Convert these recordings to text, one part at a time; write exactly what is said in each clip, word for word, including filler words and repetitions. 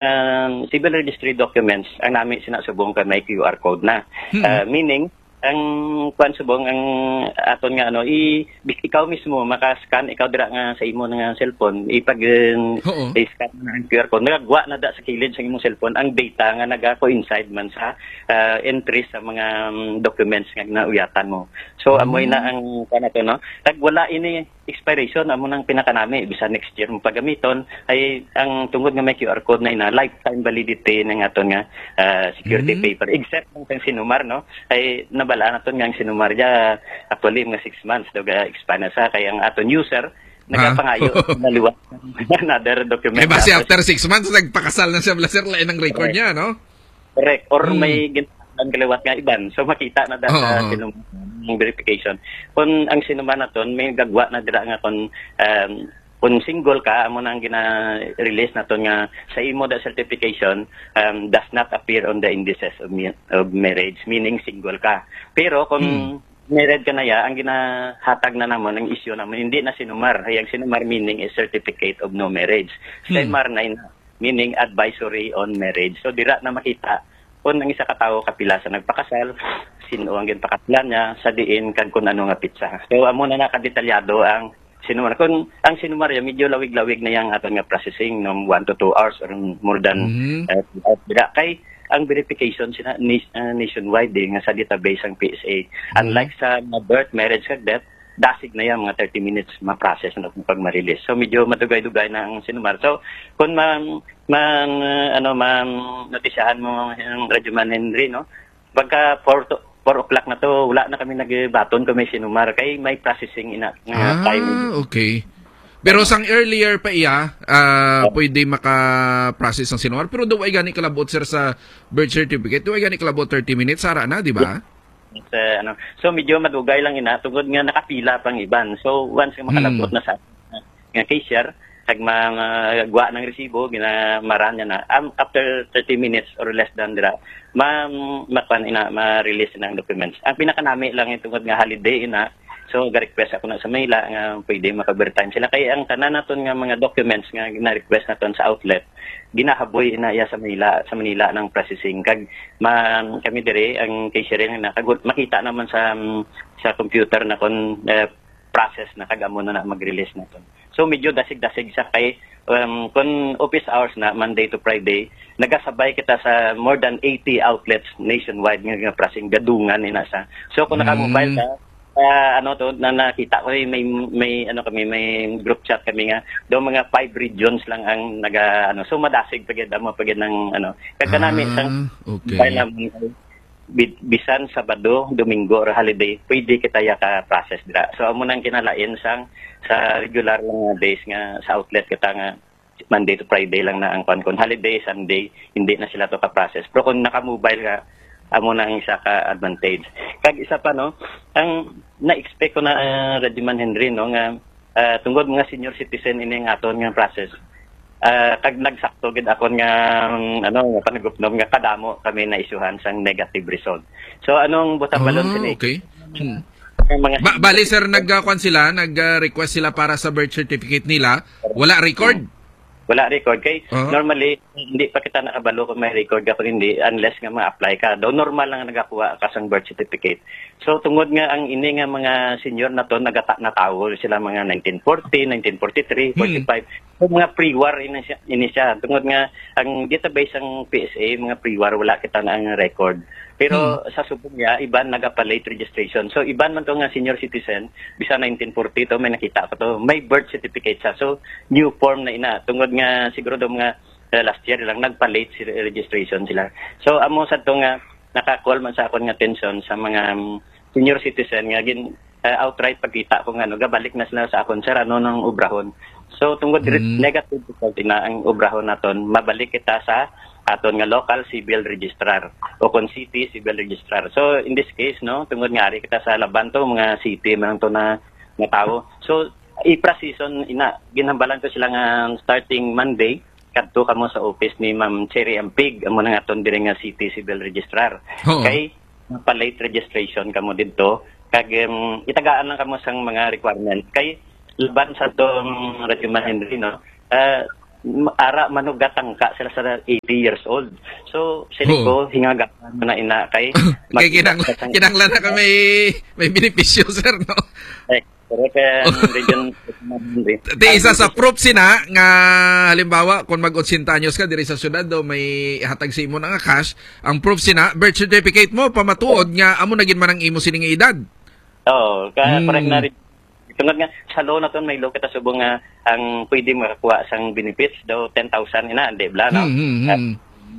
um, civil registry documents, ang nami sina subong kay may Q R code na. Hmm. Ah, meaning, ang kwan subong, ang aton nga ano, i-, ikaw mismo maka-scan, ikaw dira nga sa imo nga cellphone, ipag, um, Oo. i-scan na ang Q R code. Nagagwa na da sa kilid sa imong cellphone ang data nga naga-coincide man sa, ah, entry sa mga, um, documents nga nauyatan mo. So, amoy na Hmm. ang, kwan nato, no? Tag wala ini expiration, amo nang pinakanami, bisan next year mo pagamiton, ay ang tungod nga may Q R code na ina, lifetime validity ng aton nga, ah, security Mm. paper, except ang sang sinumar, no? Ay nabala naton nga ang sinumar ya, actually, mga six months daw ga-expire na sa, kay ang aton user, Ah. nagapangayo na liwat another document. Kay basi Tapos after six months, nagpakasal na siya, bala, sir, lain ang record Correct. niya, no? Correct. Or Hmm. may gintahan kaliwat nga iban. So, makita na da sa Oo. sinum-, verification. Kung ang sinumar naton, may gagwa na dira nga kung, um, kung single ka, amo na ang gina-release naton nga sa imo da certification, um, does not appear on the indices of mi-, of marriage, meaning single ka. Pero kung Hmm. married ka na ya, ang ginahatag na namon, ang issue namon, hindi na sinumar. Ay, ang sinumar meaning is certificate of no marriage. Hmm. Simar na ina, meaning advisory on marriage. So, dira na makita kung ang isa ka tawo kapila sa nagpakasal, sino ang ginpakaslan niya, sa diin, kag kung ano nga pitsa. So, amo na nakadetalyado ang sinumar. Kung ang sinumar ya, medyo lawig-lawig na yang aton nga processing, no, one to two hours or more than, Mm. uh, two hours. Dira kay ang verification sina-, na-, uh, nationwide, eh, nga sa database ang P S A. Mm. Unlike sa mga birth, marriage, kag death, dasig na yan, mga thirty minutes ma-process na kung pag ma-release. So, medyo madugay-dugay na ang sinumar. So, kung ma-, ma-, uh, ano, ma-, notisyahan mo ang Radyo Man Henry, no? Pagka four to, four o'clock na to, wala na kami nagbaton kung may sinumar. Kay may processing ina, nga Ah, time. okay. Pero sang earlier pa iya, ah, Oh. pwede maka-process ang sinumar. Pero do ay gani kalabot, sir, sa birth certificate. Do ay gani kalabot thirty minutes, sara na, di ba? Sa, ano, so, medyo madugay lang ina, tungod nga nakapila pang iban. So, once nga makalabot Hmm. na sa nga cashier, kag ma-, magwa ng resibo, ginamaran niya na. Am-, after thirty minutes or less than dira, ma-, makuan ina, ma-release na ang documents. Ang pinakanami lang yung tungod nga holiday ina, so, ga-request ako na sa Manila nga pwede maka-overtime sila. Kaya ang tanan naton nga mga documents nga gina-request naton sa outlet, ginahaboy ina iya sa Manila, sa Manila ng processing. Kag ma-, kami dire, ang cashier na, kag makita naman sa, sa computer na kung, eh, process na, kag amo na na mag-release naton. So, medyo dasig-dasig siya kay, um, kung office hours na, Monday to Friday, nagasabay kita sa more than eighty outlets nationwide nga, nga processing, gadungan ina sa. So, kung naka-mobile Mm. ka, ah, ano to, na nakita ko, eh, may, may, ano kami, may group chat kami nga, daw mga five regions lang ang naga, ano, so madasig pa gyud, amo pa gyud ng, ano, kag kanami, Ah, sang okay. mobile naman, bi-, bisan Sabado, Domingo, or holiday, pwede kita ya ka-process dira. So, amo nang kinalain sang, sa regular lang nga days nga sa outlet kita nga Monday to Friday lang na ang kwan. Kung holiday, Sunday, hindi na sila to ka-process. Pero kung naka-mobile ka, amo na ang isa ka advantage. Kag isa pa, no, ang na-expect ko na, ah, Radyo Man Henry, no, nga, ah, tungod mga senior citizen ini ang aton nga process. Ah, kag nagsakto gid akon nga, um, ano, nga panagupnom nga kadamo kami na-issuehan sang negative result. So, anong butang balon Ah, sini? Okay. Hmm. Ang mga Ba-, bali, sir, nag, ah, kwan sila, nag, ah, request sila para sa birth certificate nila. Wala record? Wala record. Kay Ah. normally, hindi pa kita nakabalo kung may record ka kung hindi, unless nga ma-apply ka. Daw normal lang nagakuha ka sang birth certificate. So, tungod nga ang ini nga mga senior na to, nagata-, natawo sila mga nineteen forty, nineteen forty-three, Hmm. forty-five. So, mga pre-war ini siya, ini siya. Tungod nga ang database sang P S A, mga pre-war, wala kita na ang record. Pero Hmm. sa subong niya, iban nagapa-late registration. So, iban man to nga senior citizen, bisan nineteen forty to, may nakita ko to. May birth certificate siya. So, new form na ina. Tungod nga siguro daw mga, eh, last year lang, nagpa-late si registration sila. So, amo sad to nga naka-call man sa akon nga atensyon sa mga, um, senior citizen nga gin-, eh, outright pagkita ko nga, no, gabalik na sila sa akon, "Sir, ano nang obrahon?" So, tungod re-, Mm. negative result na ang obrahon naton, mabalik kita sa aton nga local civil registrar o kon city civil registrar. So, in this case, no, tungod nga ari kita sa Laban to, mga city man to na, nga tawo. So, i-process-on ina, ginhambalan ko sila nga starting Monday, kadto kamo sa office ni Ma'am Cherry Ampig, amo na nga aton diri nga city civil registrar. Oo. Kay napa-late registration kamo didto, kag, em, itagaan lang kamo sang mga requirements. Kay laban sa atong Radyo Man Henry, no? Ah, m-, ara man og gatangka sila sa eighty years old. So, sini Oo. ko, hingaga man na ina kay Kay kinang-, kinanglan na ka may, may benepisyo, sir, no? Eh, correct, eh, ang region, Ti isa sa proof sina nga, halimbawa, kung mag-otsenta anyos ka diri sa syudad, do may hatag sa imo na nga cash, ang proof sina, birth certificate mo, pamatuod nga amo na gid man ang imo sini nga edad. Oo, ka-, Hmm. correct na rin. Tungod nga, sa law naton may law kita subong nga ang pwede makakuha sang benefits daw ten thousand ina, di bala, no? Hmm, hmm, hmm. Ah,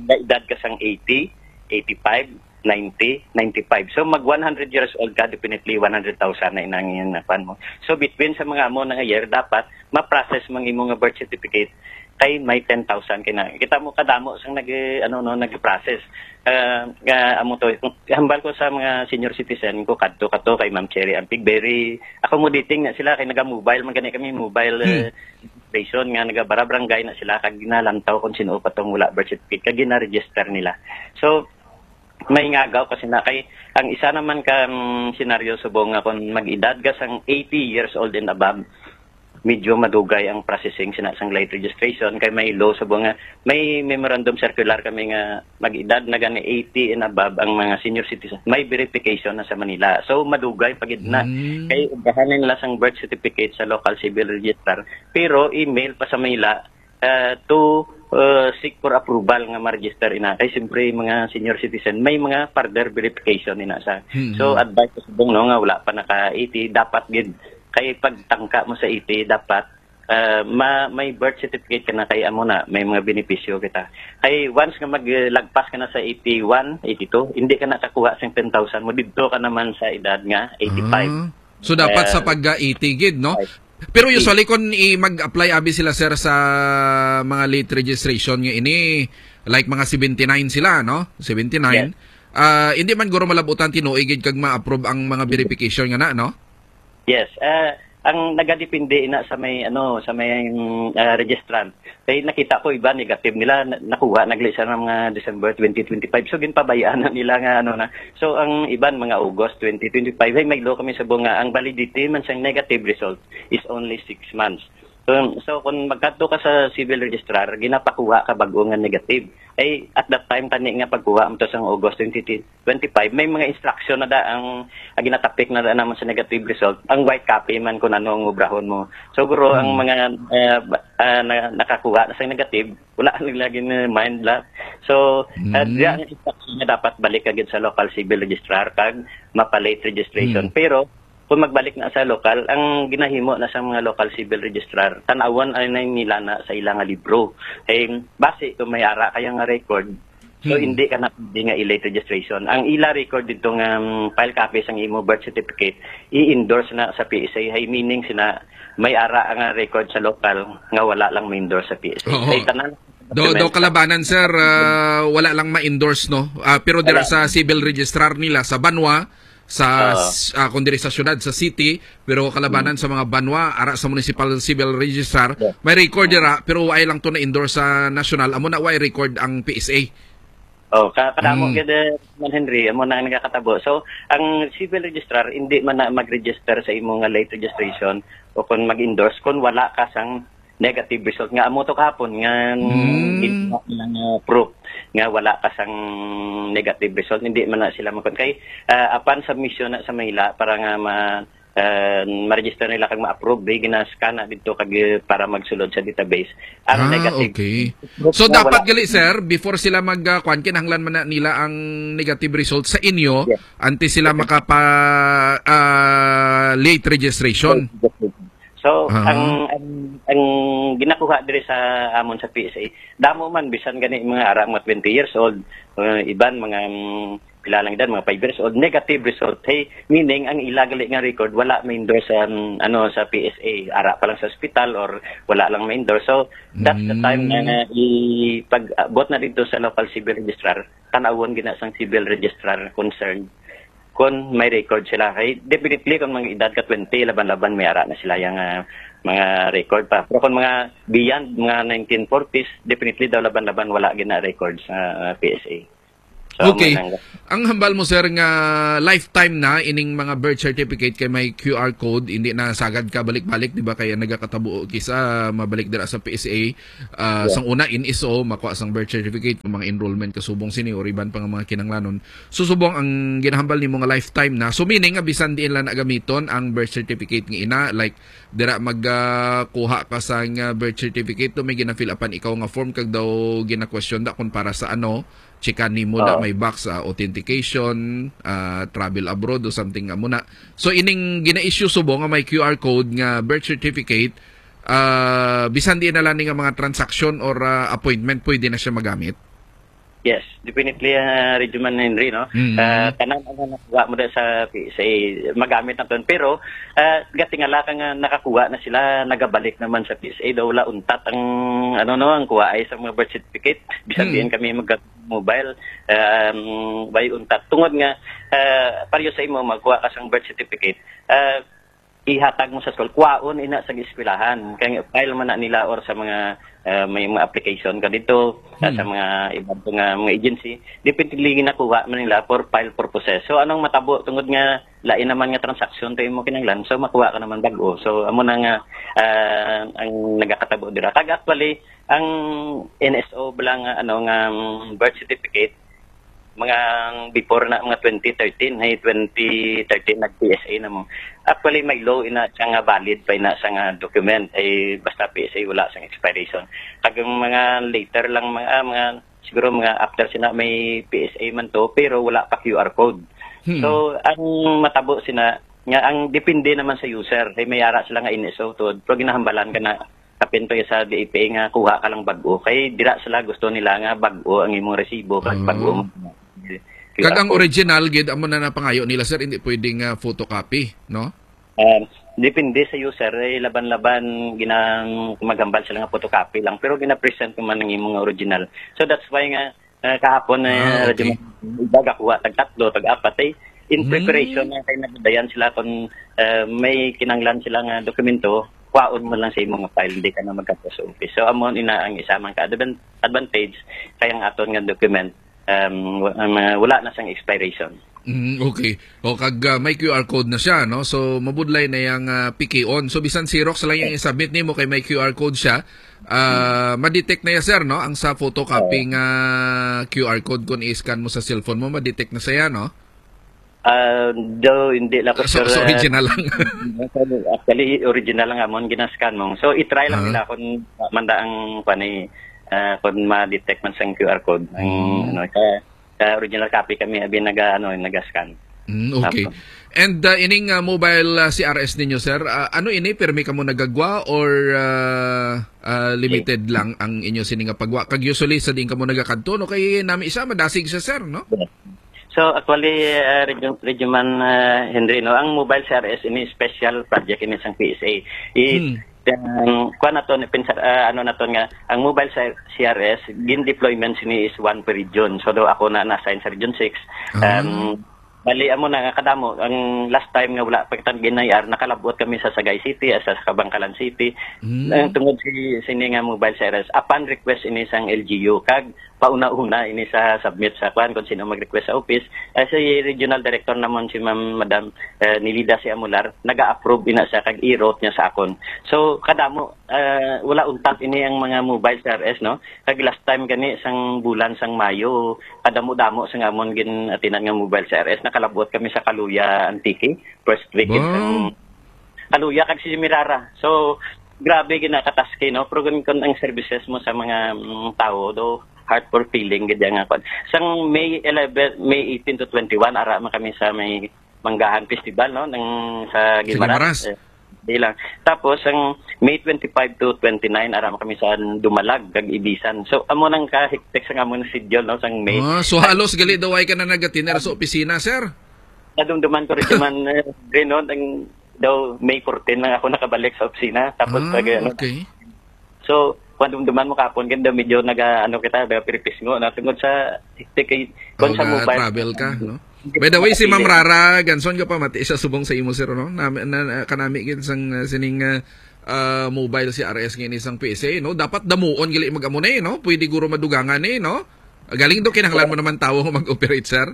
may edad ka sang eighty, eighty-five, ninety, ninety-five. So, mag one hundred years old ka, definitely one hundred thousand na inang yun na kuwan mo. So, between sa mga amo na nga year, dapat ma-process mang imo nga birth certificate kay may ten thousand kay na. Kita mo kadamo sang nag-, ano, no, nag-process. Ah, nga amo to, hambal ko sa mga senior citizen ko, kadto, kadto kay Ma'am Cherry Ampig, very accommodating na sila kay naga-mobile man gani kami, mobile, Hmm. eh, station nga nagabara-barangay na sila kag ginalantaw kung sino pa tong wala birth certificate kag gina-register nila. So, may ngagaw kasi na kay ang isa naman ka, mm, senaryo subong nga kung mag-edad ka sang eighty years old and above, medyo madugay ang processing sina sang late registration kay may law subong nga may memorandum circular kami nga mag-edad na gani eighty and above ang mga senior citizen, may verification na sa Manila. So, madugay pa gid na. Mm. Kay ugahan nila sang birth certificate sa local civil registrar, pero email pa sa Manila, uh, to, uh, seek for approval nga ma-register ina. Kay siyempre, mga senior citizen, may mga further verification ina sa. Mm. So, advice ko subong, no, nga wala pa naka eighty, dapat gid kay pagtangka mo sa eighty, dapat ah, ma-, may birth certificate ka na kay amo na, may mga benepisyo kita. Kay once nga maglagpas ka na sa eighty-one, eighty-two, hindi ka nakakuha sa ten thousand mo, didto ka naman sa edad nga eighty-five. Ah. So, dapat sa Eh, pagka eighty gid, no? Right. Pero usually, kung i-, mag-apply abi sila, sir, sa mga late registration nga ini, like mga seventy-nine sila, no? Seventy-nine. Yes. Ah, hindi man guro malabutan tinuig gid kag ma-approve ang mga verification nga na, no? Yes, ah, ang nagadepende ina sa may, ano, sa may, mm, ah, registrant. Kay nakita ko iba negative nila, na-, nakuha nagli sa mga December twenty twenty-five. So, ginpabayaan na nila nga, ano na. So, ang iban mga August twenty twenty-five, ay may law kami sa bunga. Ang validity man sang negative result is only six months. So, so kung magkadto ka sa civil registrar, ginapakuha ka bag-o nga negative. Ay, at that time, tani nga pagkuha mo to sang August twenty twenty-five, may mga instruction na da ang, ang ginatapik na da naman sa negative result. Ang white copy man kung ano ang obrahon mo. So, guro, ang Mm. mga, eh, ba-, ah, na-, nakakuha na sa negative, wala nila gin-mind la. So, ah, Mm. diya ang instruction na dapat balik agad sa local civil registrar kag mapa-late registration. Mm. Pero, kung magbalik na sa lokal, ang ginahimo na sa mga local civil registrar, tan-awon ay na nila na sa ila nga libro. Eh, base kung may ara kaya nga record, so Hmm. hindi ka na pwede nga i-late registration. Ang ila record dito nga, um, file copy sang imo birth certificate, i-endorse na sa P S A. Hay meaning sina may ara nga record sa lokal nga wala lang ma-endorse sa P S A. Oo. Kay tanan Do, do kalabanan, sir, ah, wala lang ma-endorse, no? Ah, pero dira Wala. sa civil registrar nila sa banwa, sa, Ah. s-, ah, kung diri sa syudad, sa city, pero kalabanan Hmm. sa mga banwa, ara sa municipal civil registrar, Yeah. may record dira, pero wala lang to na-endorse sa national, amo na wala record ang P S A. Oh, ka-, kadamo Hmm. gid, eh, man Henry, amo na ang nagakatabo. So, ang civil registrar, hindi man na mag-register sa imo nga late registration o kung mag-endorse kung wala ka sang negative result nga amo to kahapon nga Mm. ginawa nila nga proof nga wala ka sang negative result, hindi man na sila makon kay, ah, apan submission na sa Manila para nga ma-, ah, ma-register nila kag ma-approve, di ginaskana dito kag, eh, para magsulod sa database ang Ah, negative okay. proof So, nga dapat wala. gali, sir, before sila mag, ah, kwan, kinahanglan man na nila ang negative result sa inyo, Yes. antes sila makapa, ah, late registration. So, Ah. ang, ang, ang ginakuha diri sa amon sa P S A, damo man, bisan gani mga ara, mga twenty years old, uh, iban mga, mm, pila lang edad, mga five years old, negative result. Hey, meaning, ang ila gali nga record, wala ma-endorse sa, um, ano, sa P S A. Ara pa lang sa ospital or wala lang ma-endorse. So, that's the time na, Mm. na i-, pag-abot na dito sa local civil registrar, tanawon gina sang civil registrar concerned kung may record sila. Kay definitely, kung mga edad ka twenty, laban-laban may ara na sila yang, ah, mga record pa. Pero kung mga beyond, mga nineteen forties, definitely daw laban-laban wala gina record sa, ah, P S A. So, amo Okay. na ang Ang hambal mo, sir, nga lifetime na ining mga birth certificate kay may Q R code, hindi na sagad ka balik-balik, di ba? Kaya nagakatabo, kisa mabalik dira sa P S A, ah, Yeah. sang una, N S O, makuha sang birth certificate, kung mga enrollment kasubong sini, or iban pa nga mga kinanglanon. So, subong ang ginahambal nimo nga lifetime na. So, meaning nga bisan diin lang nagamiton ang birth certificate nga ina, like, dira mag, ah, kuha ka sang, ah, birth certificate, do may gina-fill upan ikaw nga form, kag daw gina-question da kung para sa ano, chikan nimo na Oo. may box, ah, authentication, ah, travel abroad o something nga muna. So, ining gina-issue subong nga may Q R code nga birth certificate, ah, bisan di na lang ni nga mga transaction or, ah, appointment, pwede na siya magamit? Yes, definitely, ah, Radyo Man Henry, no? Mm. Ah, tanan ang nakuha mo da sa P S A, magamit na ton. Pero, ah, gatingala ka nga nakakuha na sila, nagabalik naman sa P S A, daw wala untat ang, ano, no, ang kuha ay sa mga birth certificate. Bisan Mm. diin kami mag-, mobile, um, way untat. Tungod nga, ah, pareho sa imo, magkuha ka sang birth certificate, ah, ihatag mo sa school, kuhaon ina sa eskwelahan. Kay file man na nila or sa mga, ah, may mga application ka dito, ah, Hmm. sa mga iban pa nga mga agency, definitely ginakuha man nila for file purposes. So, anong matabo tungod nga lain naman nga transaction to imo kinahanglan, so makuha ka naman bag-o. So, amo na nga, ah, ang nagakatabo dira. Kag actually, ang N S O bala nga, ano, nga, um, birth certificate, mga before na, mga twenty thirteen, ay twenty thirteen nag-P S A na mo. Actually, may law ina siya nga valid pa ina sa nga document, ay basta P S A wala sang expiration. Kag ang mga later lang, mga, ah, mga, siguro mga after sina may P S A man to, pero wala pa Q R code. Hmm. So, ang matabo sina, nga ang depende naman sa user, ay may ara sila nga N S O to, pero ginahambalan ka na kapin to sa D A P A nga kuha ka lang bag-o. Kay dira sila gusto nila nga bag-o ang imong resibo, kag Ah. bag-o mo. Kag ang original gid, amo na napangayo nila, sir, hindi pwedeng, ah, photocopy, no? Um, depende sa user, eh, laban-laban ginang maghambal sila nga photocopy lang, pero gina-present naman ang imong original. So that's why nga, eh, kahapon, eh, Ah, okay. Radyo Man, iba gakuha tag tatlo, tag apat, eh, in Hmm. preparation na kay nagdayan sila kung, eh, may kinanglan sila nga dokumento, kuhaon mo lang sa imong file, hindi ka na magkadto sa office. So, amo ina ang isa man ka advan-, advantage kay ang aton nga document, um, wa-, um, uh, wala na sang expiration. Mm, okay. O, kag, ah, may Q R code na siya, no? So, mabudlay na yang, ah, pikion. So, bisan Xerox lang yang i-submit nimo kay may Q R code siya. Ah, ma-detect na ya, sir, no? Ang sa photocopy Oo. nga Q R code, kung i-scan mo sa cellphone mo, ma-detect na siya, no? Ah, daw, hindi lang ko So, sure, so ah, original lang. Actually, original lang amon ginascan mo. So, i-try lang Ah. nila kung manda ang, kwan, eh, ah, kung ma-detect man sang Q R code. Ang, Hmm. ano, sa, sa original copy kami, abi naga-, ano, naga-scan. Mm, okay. Apo. And, ah, ining, ah, mobile, ah, C R S ninyo, sir, ah, ano ini, pirmi kamo nagagwa or, ah, ah, limited lang ang inyo sini nga pagwa? Kag usually sa diin kamo nagakadto, no? Kay nami siya, madasig siya, sir, no? So, actually, ah, Radyo-, Radyo Man, ah, Henry, no, ang mobile C R S ini special project ini sang P S A. I-, Hmm. um, kuwan naton, pinsa-, ah, ano naton nga, ang mobile C-, C R S, gin-deployment sini is one per region. So, do ako na na-assign sa Region six. Ah. Um, bali, amo na nga kadamo, ang last time nga wala pa kita gin-I R, nakalabot kami sa Sagay City, ah, sa Kabankalan City. Hmm. Ang tungod si, sini nga mobile C R S, upon request ini sang L G U, kag pauna-una ini sa submit sa kwan kung sino mag-request sa office. Ah, si regional director namon, si Ma'am, Madam, eh, Nilida si Amular, naga-approve ina siya kag i-route niya sa akon. So, kadamo, eh, wala untat ini ang mga mobile C R S, no? Kag last time gani sang bulan sang Mayo, kadamo-damo sa amon gin-atinan nga mobile C R S. Nakalabot kami sa Caluya, Antique, first week Wow. sang Caluya kag si Mirara. So, grabe ginakataski, no? Pero kun, kun ang services mo sa mga, mm, tao, do, heart for feeling, gid nga kwan. Sang May eleven, May eighteen to twenty-one, ara man kami sa may Manggahan Festival, no? Nang sa Sa Guimaras. Guimaras. Eh, di lang. Tapos, ang May twenty-five to twenty-nine, ara man kami sa Dumalag, kag Ibisan. So, amo nang kahektik sa amon schedule, no? Sang May. Ah, so, halos gali daw ay ka na nagatinera sa opisina, sir? Nadumduman ko rin naman, eh, Reno, ang daw May fourteen lang ako nakabalik sa opisina. Tapos Ah, pag, ano, okay. So, kung dumduman mo kapon, ganda medyo naga, ano kita, naga piripisngo na tungod sa hectic kay, kung Oh, sa mobile. Travel ka, no? By the way, si Ma'am Rara Ganson, ka pa, mati siya subong sa imo, sir, no? Na, na, na, kanami gid sang, uh, sining, uh, uh, mobile C R S nga ini sang P S A, no? Dapat damuon gali mag-amo na, eh, no? Pwede guro madugangan, eh, no? Galing do kinahanglan mo naman tawo nga mag-operate, sir?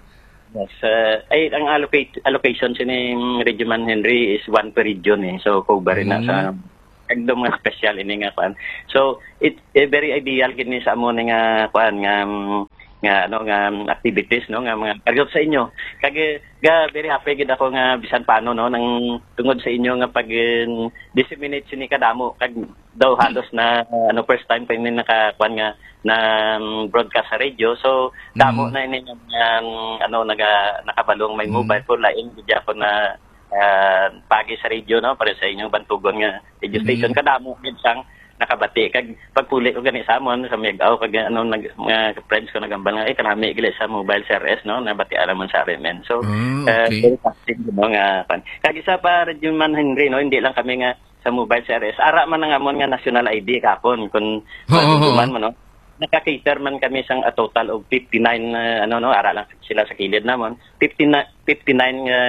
Yes, uh, ay, ang allocate, allocation sining Regioman Henry is one per region eh. So, cover na sa, Mm. Ang mga special ini nga kuan. So, it, eh, very ideal gid ni sa amo ni nga kuan nga, mm, nga, ano, nga, mm, activities, no, nga mga kargot sa inyo. Kag, eh, ga, very happy gid ako nga bisan paano, no, nang tungod sa inyo nga pag, eh, disseminate sini kadamo, kag daw halos na, ano, first time pa ini naka, kuan nga, na, mm, broadcast sa radio. So, damo Mm. na ini nga, mm, ano, naga, nakabalong may Mm. mobile phone, lain gid ako na, ah, pagi sa radio, no, para sa inyong bantugon nga radio station. Mm. Kadamo gid sang nakabati. Kag pagpuli ko gani sa amon, sa Miag-aw, kag ano, nag-, mga friends ko nagambal nga, "Ay, kanami gali sa mobile C R S, no? Nabatian naman sa R M N." So, Ah, ah, okay. Very positive, no, nga, pan-, kag isa pa, Radyo Man Henry, no, hindi lang kami nga sa mobile C R S. Ara man ang amon nga national I D kapon, kung Oo, oo. Mahinumduman mo, no? Naka-cater man kami sang a total of fifty-nine, ah, ano, no, ara lang sila sa kilid namon. Fifty-nine, fifty-nine nga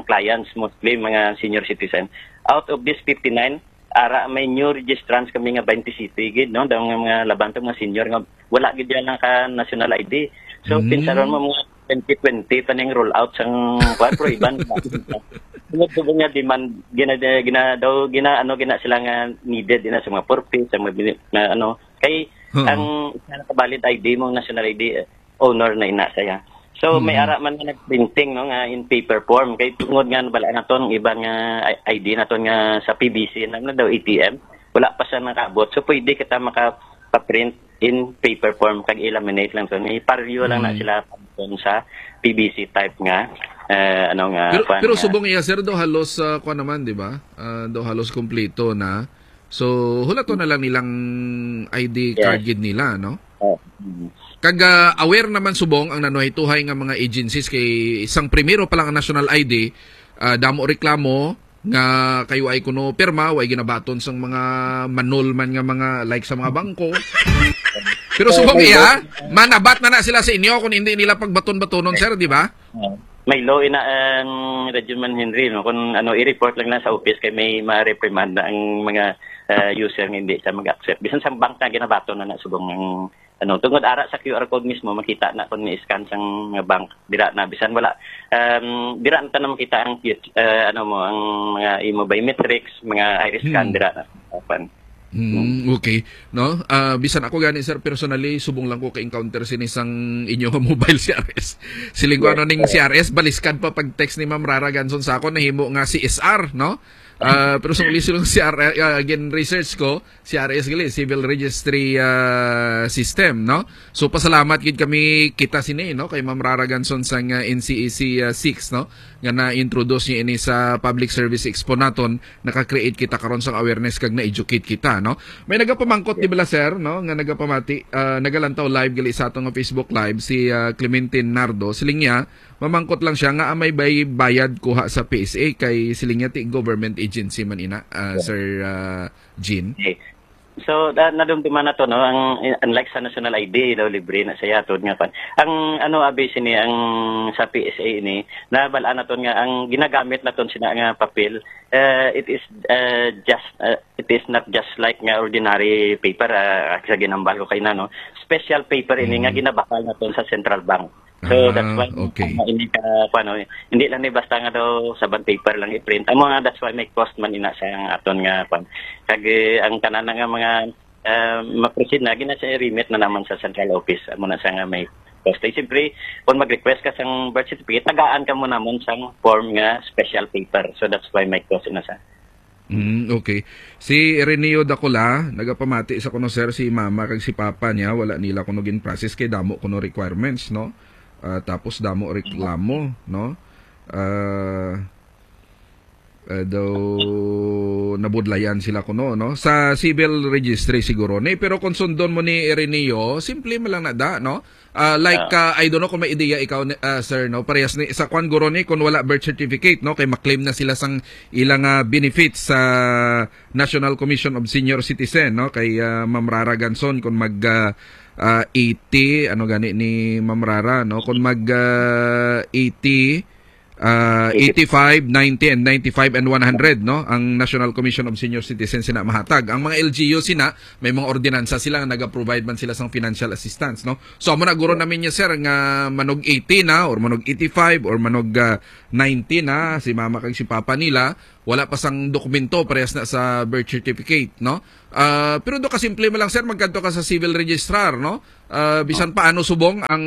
clients, mostly mga senior citizen. Out of this fifty-nine, ara may new registrants kami nga twenty-seven gid, no? Daw nga mga laban to mga senior nga wala gid yan lang ka national I D. So, Mm. pinsaron mo mga twenty twenty pa ning roll out sang, kuwan, pero iban. Tungod sa nga demand, gina, gina, daw, gina, ano, gina sila nga needed, gina sa mga purpose, sa mga bini-, na, ano. Kay, Oo. Ang isa na ka valid I D mo, national I D, eh, owner na ina saya. So, may Mm. ara man nga nagprinting, no, nga in paper form. Kay tungod nga nabala naton ang iban nga I-, I D naton nga sa P B C, na, na daw A T M, wala pa siya nakaabot. So, pwede kita makapaprint in paper form, kag i-laminate lang to. Ipareho lang na Mm. sila sa P B C type nga, eh, ano nga, Pero, kuwan pero nga. Subong iya, sir, do halos, ah, kuwan naman, di ba? Ah, do halos kompleto na. So, hulaton na lang nilang I D Yes. card gid nila, no? Oh, mm. Kag, ah, aware naman subong ang nanuhay-tuhay nga mga agencies kay isang primero pa lang ang national I D, ah, damo reklamo nga kayo ay kuno pirma, way ginabaton sang mga manol man nga mga, like, sa mga bangko. Pero subong iya, manabat na na sila sa inyo kung hindi nila pagbaton-batonon, sir, di ba? Oh. May law ina, um, Radyo Man Henry, no? Kung ano, i-report lang na sa office kay may ma-reprimand na ang mga, uh, user nga hindi siya mag-accept. Bisan sa bank na ginabaton na na subong ang, ano, tungod ara sa Q R code mismo, makita na kung ni-scan sang mga bank, dira na. Bisan wala, um, dira na ta na makita ang, uh, ano mo, ang mga imo biometrics, mga iris scan, Hmm. dira na. Open. Mm, okay. No? Ah, bisan ako gani, sir, personally, subong lang ko ka-encounter sini sang inyo nga mobile C R S. Siling ko, Yes, ano ning sir. C R S, baliskad pa pag text ni Ma'am Rara Ganson sa akon, nahimo nga C S R, no? Ah, pero sa uli silang C R S, ah, again, research ko, C R S gali, Civil Registry, ah, System, no? So, pasalamat gid kami kita sini, no? Kay Ma'am Rara Ganson sang, ah, N C A C, ah, six, no? Nga na-introduce niya ini sa Public Service Expo naton, naka-create kita karon sang awareness kag na-educate kita, no? May nagapamangkot, di bala, sir, no, nga nagapamati, ah, nagalantaw live gali sa aton nga Facebook Live, si, ah, Clementine Nardo. Siling niya, mamangkot lang siya nga may bay-, bayad kuha sa P S A kay siling niya ti government agency man ina, ah, Yeah. Sir, ah, Jean. Okay. So, da-, nadumduman na to, no? Ang, unlike sa national I D, daw libre na siya, tod nga pan. Ang, ano, abi sini, ang sa P S A ini, nabalaan naton nga ang ginagamit naton sina nga papel, eh, it is, eh, just, eh, it is not just like nga ordinary paper, ah, sa ginambal ko kay na, no? Special paper ini nga Mm. ginabakal naton sa central bank. So, that's Ah, why, okay. Ano, hindi ka, ano, hindi lang ni basta nga daw sa bond paper lang i-print. Amo nga, that's why may cost man ina sa ang aton nga, kwan. Kag, eh, ang tanan na nga mga, ah, ma-proceed na, gina siya i-remit na naman sa central office. Amo na siya nga may cost. Eh, siyempre, kung mag-request ka sang birth certificate, tagaan ka mo naman sang form nga special paper. So, that's why may cost na sa Mm, okay. Si Ireneo Dakula, nagapamati sa kuno, sir, si mama kag si papa niya, wala nila kuno gin-process kay damo kuno requirements, no? Ah, tapos damo reklamo, no? Ah, ah, daw nabudlayan sila kuno, no? Sa civil registry siguro ni, pero kung sundon mo ni Ireneo, simple man lang na da, no? Ah, like, Ah. ah, I don't know kung may ideya ikaw, ni-, ah, sir, no? Parehas ni, sa kwan guro ni, kung wala birth certificate, no? Kay maklaim na sila sang ilang, ah, benefits sa National Commission of Senior Citizen, no? Kay, ah, Ma'am Rara Ganson, kung mag, ah, ah, eighty, ano gani ni Ma'am Rara, no? Kung mag, ah, eighty, ah, eighty-five, ninety, and ninety-five and one hundred, no? Ang National Commission of Senior Citizens sina mahatag. Ang mga L G U sina, may mga ordinansa sila nga naga-provide man sila sang financial assistance, no? So, amo na guro namin niya, sir, nga manog eighty na, or manog eighty-five, or manog, ah, ninety na, si mama kag si papa nila, wala pa sang dokumento, parehas na sa birth certificate, no? Ah, pero do kasimple mo lang, sir, magkadto ka sa civil registrar, no? Ah, bisan pa ano subong ang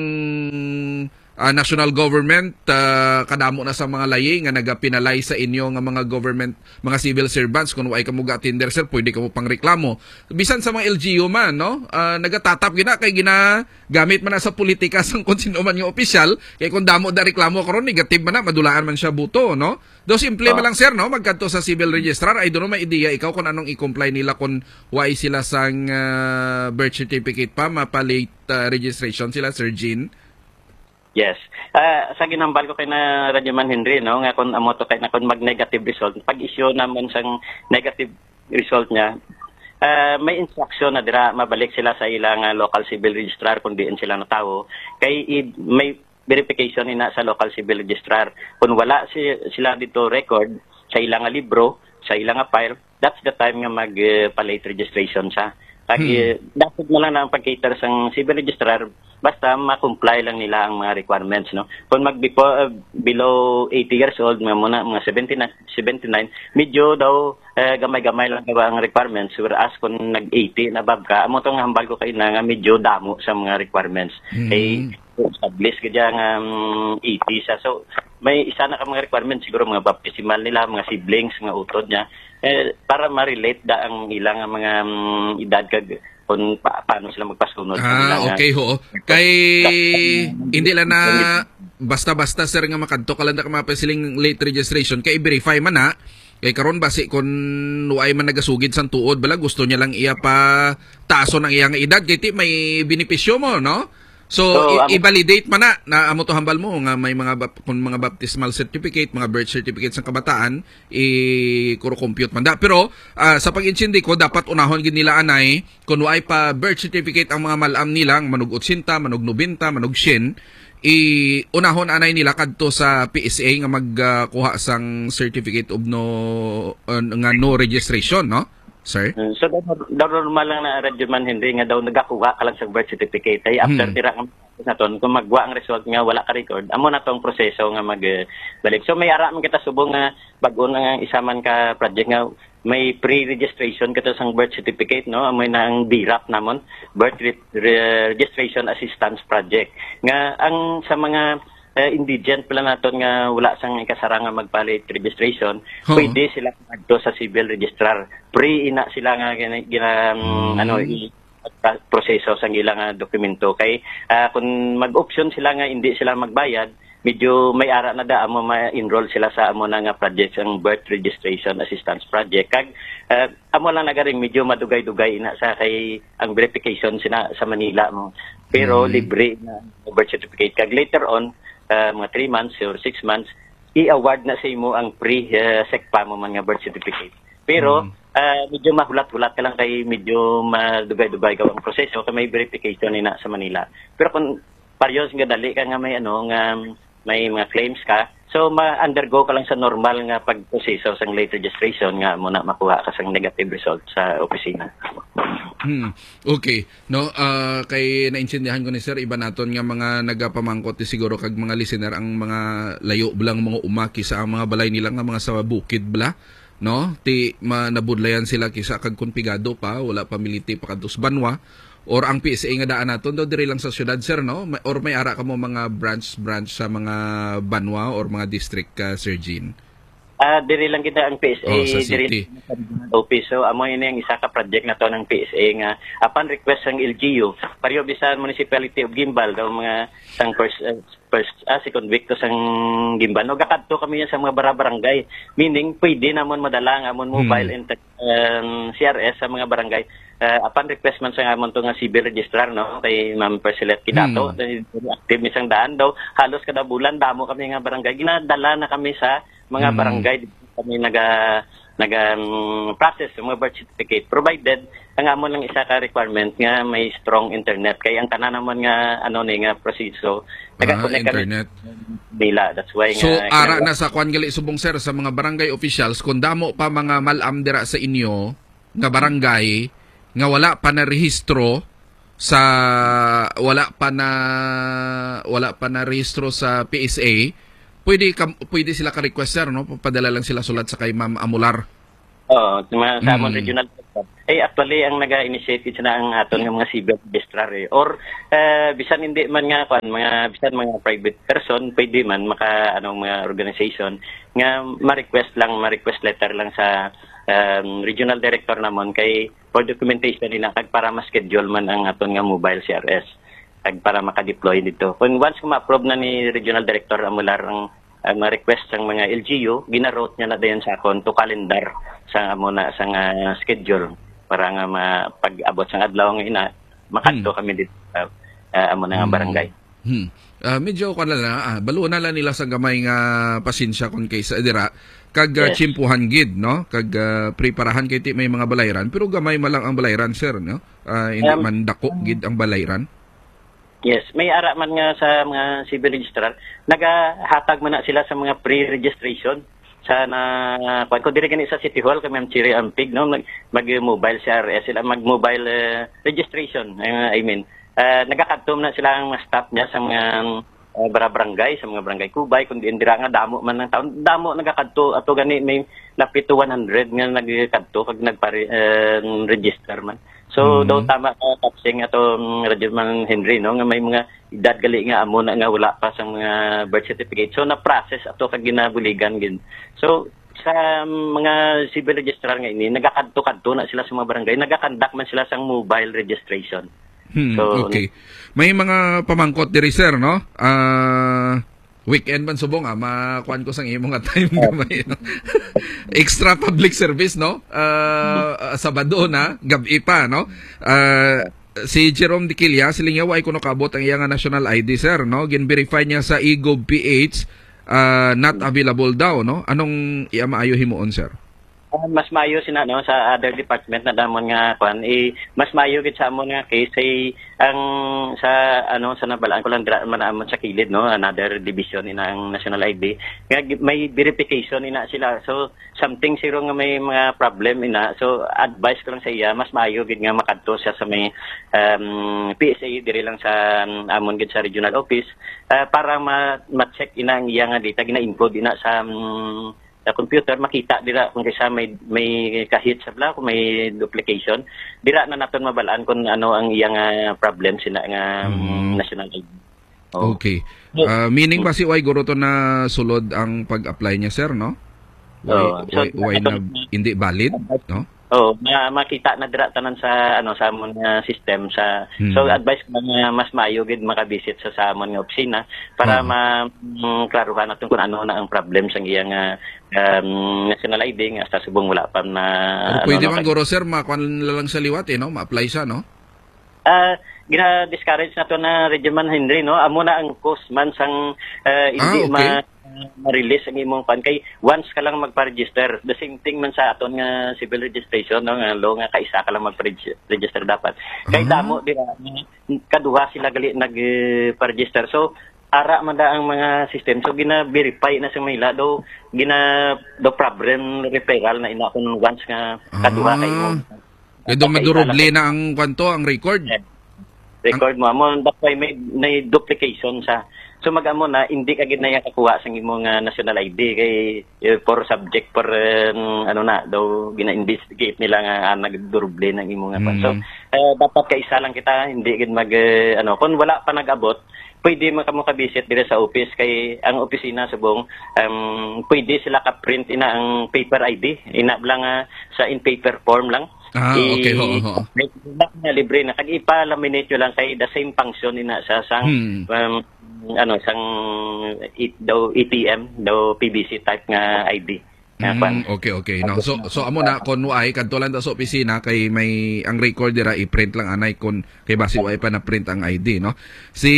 ah, national government, ah, kadamo na sa mga layi nga nagapenalize sa inyo nga mga government, mga civil servants, kung way kamo ga-attender, sir, pwede kamo pangreklamo. Bisan sa mga L G U man, no? Ah, nagatatap gina kay ginagamit man na sa politika sang kung sino man nga opisyal, kay kung damo da reklamo karon, negative man na, madulaan man siya buto, no? Do simple Ah. man lang, sir, no? Magkadto sa civil registrar, I don't know, may ideya ikaw kung anong i-comply nila kung way sila sang, ah, birth certificate pa, mapa-late, ah, registration sila, Sir Jean? Yes. Ah, sa ginhambal ko kay na Radyo Man Henry, no, nga kung amo to kay na kung mag-negative result, pag-issue naman sang negative result niya, ah, may instruction na dira mabalik sila sa ilang, ah, local civil registrar kung diin sila natawo. Kay i-, may verification ina sa local civil registrar. Kung wala si, sila dito record sa ilang, ah, libro, sa ilang, ah, file, that's the time nga mag, eh, pa-late registration sa. Kag, Hmm. eh, dapat na lang na ang pag-cater sang civil registrar, basta ma-comply lang nila ang mga requirements, no? Kung mag before, uh, below eighty years old, nga muna, mga seventy-nine, seventy-nine, medyo daw, eh, gamay-gamay lang daw ang requirements, whereas kung nag eighty na above ka, amo tong hambal ko kay na nga medyo damo sa mga requirements. Hmm. Kay established ka dyan nga, um, eighty siya. So, may isa na ka mga requirements, siguro mga baptismal nila, mga siblings, mga utod niya. Eh, para ma-relate da ang ilang mga, um, edad kag kung pa, paano sila magpasunod sa Ah, ilang, ah, okay, ho. Kay hindi lang na basta-basta, sir, nga makadto ka lang na ka mapasiling late registration, kay i-verify man na. Kay karon basi kun way man nagasugid sang tuod, bala gusto niya lang iya pa taason ang iya nga edad, kay ti may benepisyo mo, no? So, So, i-, ang i-validate man na, na amo to hambal mo nga may mga bap-, kung mga baptismal certificate, mga birth certificate sang kabataan, i-compute man da. Pero, ah, sa pag-intindi ko, dapat unahon gid nila anay, kung way pa birth certificate ang mga mal-am nila, ang manog otsenta, manog nobenta, manog syen, i-, unahon anay nila kadto sa P S A nga magkuha sang certificate of no, uh, nga no registration, no? Sir? Mm, so, daw, daw normal lang na, Radyo Man Henry, nga daw nagakuha ka lang sa birth certificate. Ay, after Hmm. tira ka naton, kung magwa ang result nga wala ka record, amo na tong proseso nga mag, eh, balik. So, may ara man kita subong nga bag-o na nga isa man ka project nga may pre-registration kita sang birth certificate, no? Amo na ang B R A P namon, Birth Re-, Re-, Registration Assistance Project. Nga ang sa mga, eh, indigent pala naton nga wala sang ikasarang nga magpa-late registration, Oo. pwede sila madto sa civil registrar. Pre ina sila nga gina-, gina-, um, Mm. ano, i-, pa-, proseso sang ilang, ah, dokumento. Kay, ah, kung mag-option sila nga hindi sila magbayad, medyo may ara na da amo ma-enroll sila sa amo na nga project, ang Birth Registration Assistance Project. Kag, ah, amo lang nagaring medyo madugay-dugay na sa kay ang verification sina sa Manila mo. Pero Mm. libre na birth certificate. Kag later on, ah, mga three months or six months, i-award na sa imo ang pre, ah, SECPA mo man nga birth certificate. Pero, Mm. ah, medyo mahulat-hulat ka lang kay medyo madugay-dugay gaw ang proseso kay may verification ni na sa Manila. Pero kung parehas nga dali ka nga may ano, nga may mga claims ka, so ma-undergo ka lang sa normal nga pagproseso sang late registration nga mo na makuha ka sang negative result sa opisina. Hmm. Okay. No, ah, kay naintindihan ko ni sir, iba naton nga mga nagapamangkot ni siguro kag mga listener ang mga layo lang mga uma kisa ang mga balay nila nga mga sa bukid bala, no? Ti ma-, nabudlayan sila kisa kag kon pigado pa, wala pa militi pa kadto sa banwa. Or ang P S A nga daan naton daw diri lang sa syudad, sir, no? May, or may ara kamo mga branch, branch sa mga banwa or mga district, ah, Sir Jean? Ah, diri lang kita ang P S A, Oh, sa diri city. sa office. So, amo ini ang isa ka project nato ng P S A nga upon request sang L G U, pareho bisan Municipality of Guimbal daw mga sang first, uh, first, ah, second week to sang Guimbal. No, gakadto kami yan sa mga bara-, barangay. Meaning, pwede namon madala ang amon mobile Hmm. and tech-, um, C R S sa mga barangay. Ah, upon request man sa amon to nga civil registrar, no, kay Ma'am Percilet Kidato, Hmm. eh, active mi sang daan daw. Halos kada bulan, damo kami nga barangay. Ginadala na kami sa mga Hmm. barangay kami naga naga um, process sa mga birth certificate, provided ang amo lang isa ka requirement nga may strong internet, kay ang tanan naman nga ano ni nga proseso, ah, nagakonect kami internet nila. That's why so nga ara kinahanglan na sa kwan gali subong, sir, sa mga barangay officials, kung damo pa mga malam dira sa inyo nga barangay nga wala pa na rehistro sa wala pa na wala pa na rehistro sa P S A, pwede ka, pwede sila ka request, sir, no? Papadala lang sila sulat sa kay Ma'am Amular. Oo, sa mga sa amon Mm. regional. Eh, actually, ang naga-initiate gid na ang aton nga mga civil registrar, eh. Or, eh, bisan hindi man nga, kwan, mga, bisan mga private person, pwede man, maka, anong mga organization, nga ma-request lang, ma-request letter lang sa, um, regional director namon kay for documentation nila kag para ma-schedule man ang aton nga mobile C R S kag para maka-deploy dito. Kung once kung ma-approve na ni regional director Amular ang, ang mga request sang mga L G U, gina-route niya na dayon sa akon to calendar sa amo na sa nga schedule para nga ma-, pag-abot sang adlaw nga ina, makadto Hmm. kami dito sa, ah, amo na nga Hmm. barangay. Hmm. Ah, medyo kwan na lang, ah, baluon na lang nila sa gamay nga pasensya kung kaysa dira. Kag, ah, Yes. tsimpuhan gid, no? Kag, ah, preparahan kay ti may mga balayran, pero gamay man lang ang balayran, sir, no? Ah, hindi Um, man dako gid ang balayran. Yes, may ara man nga sa mga civil registrar, nagahatag man na sila sa mga pre-registration sa na, kwan ko, diri gani sa City Hall, kay Ma'am Cherry Ampig, no? Mag, mag-mobile C R S sila, mag-mobile, eh, registration, eh, I mean, eh, nagakadto man na sila ang mga staff niya sa mga, eh, bara-, barangay, sa mga barangay Kubay, kung diin dira nga damo man ang taon, damo nagakadto, ato gani may lapit to one hundred nga nagkadto kag nagpare-, eh, register man. So, Mhm. daw tama ka, Kapsing, ato, mm, Radyo Man Henry, no, nga may mga edad gali nga amo na nga wala pa sa mga birth certificate. So, na-process ato kag ginabuligan gid. So, sa mga civil registrar nga ini, nagakadto-kadto na sila sa mga barangay, nagakandak man sila sang mobile registration. Hmm, So, okay. May mga pamangkot diri, sir, no? Ah, weekend man subong, ah, makuan ko sang imo nga time Oh. gamay, no? Extra public service, no? Ah, ah, Sabado na, gab-i pa, no? Ah, si Jerome Diquilla, siling niya, "Wa kuno kaabot ang iya nga national I D, sir, no? Gin-verify niya sa e-gov P H, ah, not available daw, no? Anong iya maayo himuon, sir?" Ah, mas maayo sina, no, sa other department na damon nga kwan, eh, mas maayo gid sa amon nga case, eh, ang sa, ano, sa nabalaan ko lang dira man amon sa kilid, no, another division ina ang national I D. Nga gi-, may verification ina sila. So, something siro nga may mga problem ina. So, advice ko lang sa iya, mas maayo gid nga makadto siya sa may, um, P S A diri lang sa, um, amon gid sa regional office, ah, para ma-, ma-check ina ang iya nga data, gina-encode ina sa, um, sa computer, makita dira kung kisa may, may kahit sa bala, kung may duplication. Dira na naton mabalaan kung ano ang iya nga problem sina nga, mm, Mm. national I D. Oh. Okay. So, Ah, meaning mm. basi why guro to na sulod ang pag-apply niya, sir, no? Why, Oo. So, why, why na hindi valid, no? Oo, ma-, makita na dira tanan sa, ano, sa amon nga system sa, Hmm. so, advice ko nga mas maayo gid makabisit sa, sa amon nga opisina para Oo. ma-, mm, klaruhan naton kung ano na ang problem sa iya nga, um, national I D nga sa subong wala pa na, Pero ano, pwede no, man, kay guro, sir, makuan na lang sa liwat, eh, no? Ma-apply siya, no? Ah, gina-discourage nato na, Radyo Man Henry, no? Amo na ang cause man sang, ah, Ah, hindi okay. ma-, ma-release ang imong pan. Kay once ka lang magpa-register, the same thing man sa aton nga civil registration, no? Nga law nga kaisa ka lang magpa-register dapat. Kay Ah. damo dira, kaduha sila gali nag, eh, pa-register. So, ara man da ang mga system. So, gina-verify na sa Manila. Daw, gina-, daw problem referral na ina kung once nga kaduha ka Ah. imo. Kaya daw Okay, maduruble talaga. na ang kwanto, ang record. Yeah. Record mo, amo, that's why may, may duplication sa. So, mag-amo na, hindi ka gid na iya kakuha sa imo nga national I D kay, eh, for subject, for, um, ano na, daw gina-investigate nila nga, ah, nagduruble na ang imo nga kwan. So, Mm. eh, dapat kaisa lang kita, hindi gid mag, eh, ano, kung wala pa nag-abot, pwede man kamo ka-visit diri sa office kay ang opisina subong, um, pwede sila ka-print ina ang paper I D, ina lang, ah, sa in paper form lang. Ah, I-, okay, ho, ho. Libre na, libre na. Kag ipa-laminate nyo lang kay the same function ina sa sang, Hmm. um, ano, sang it-, daw A T M, daw P V C type nga I D. Nga Mm, kwan. Okay, okay. No? So, so amo na, kung why, kadto lang ta sa opisina kay may ang record dira, i-print lang anay kung kay basi why pa na-print ang I D, no? Si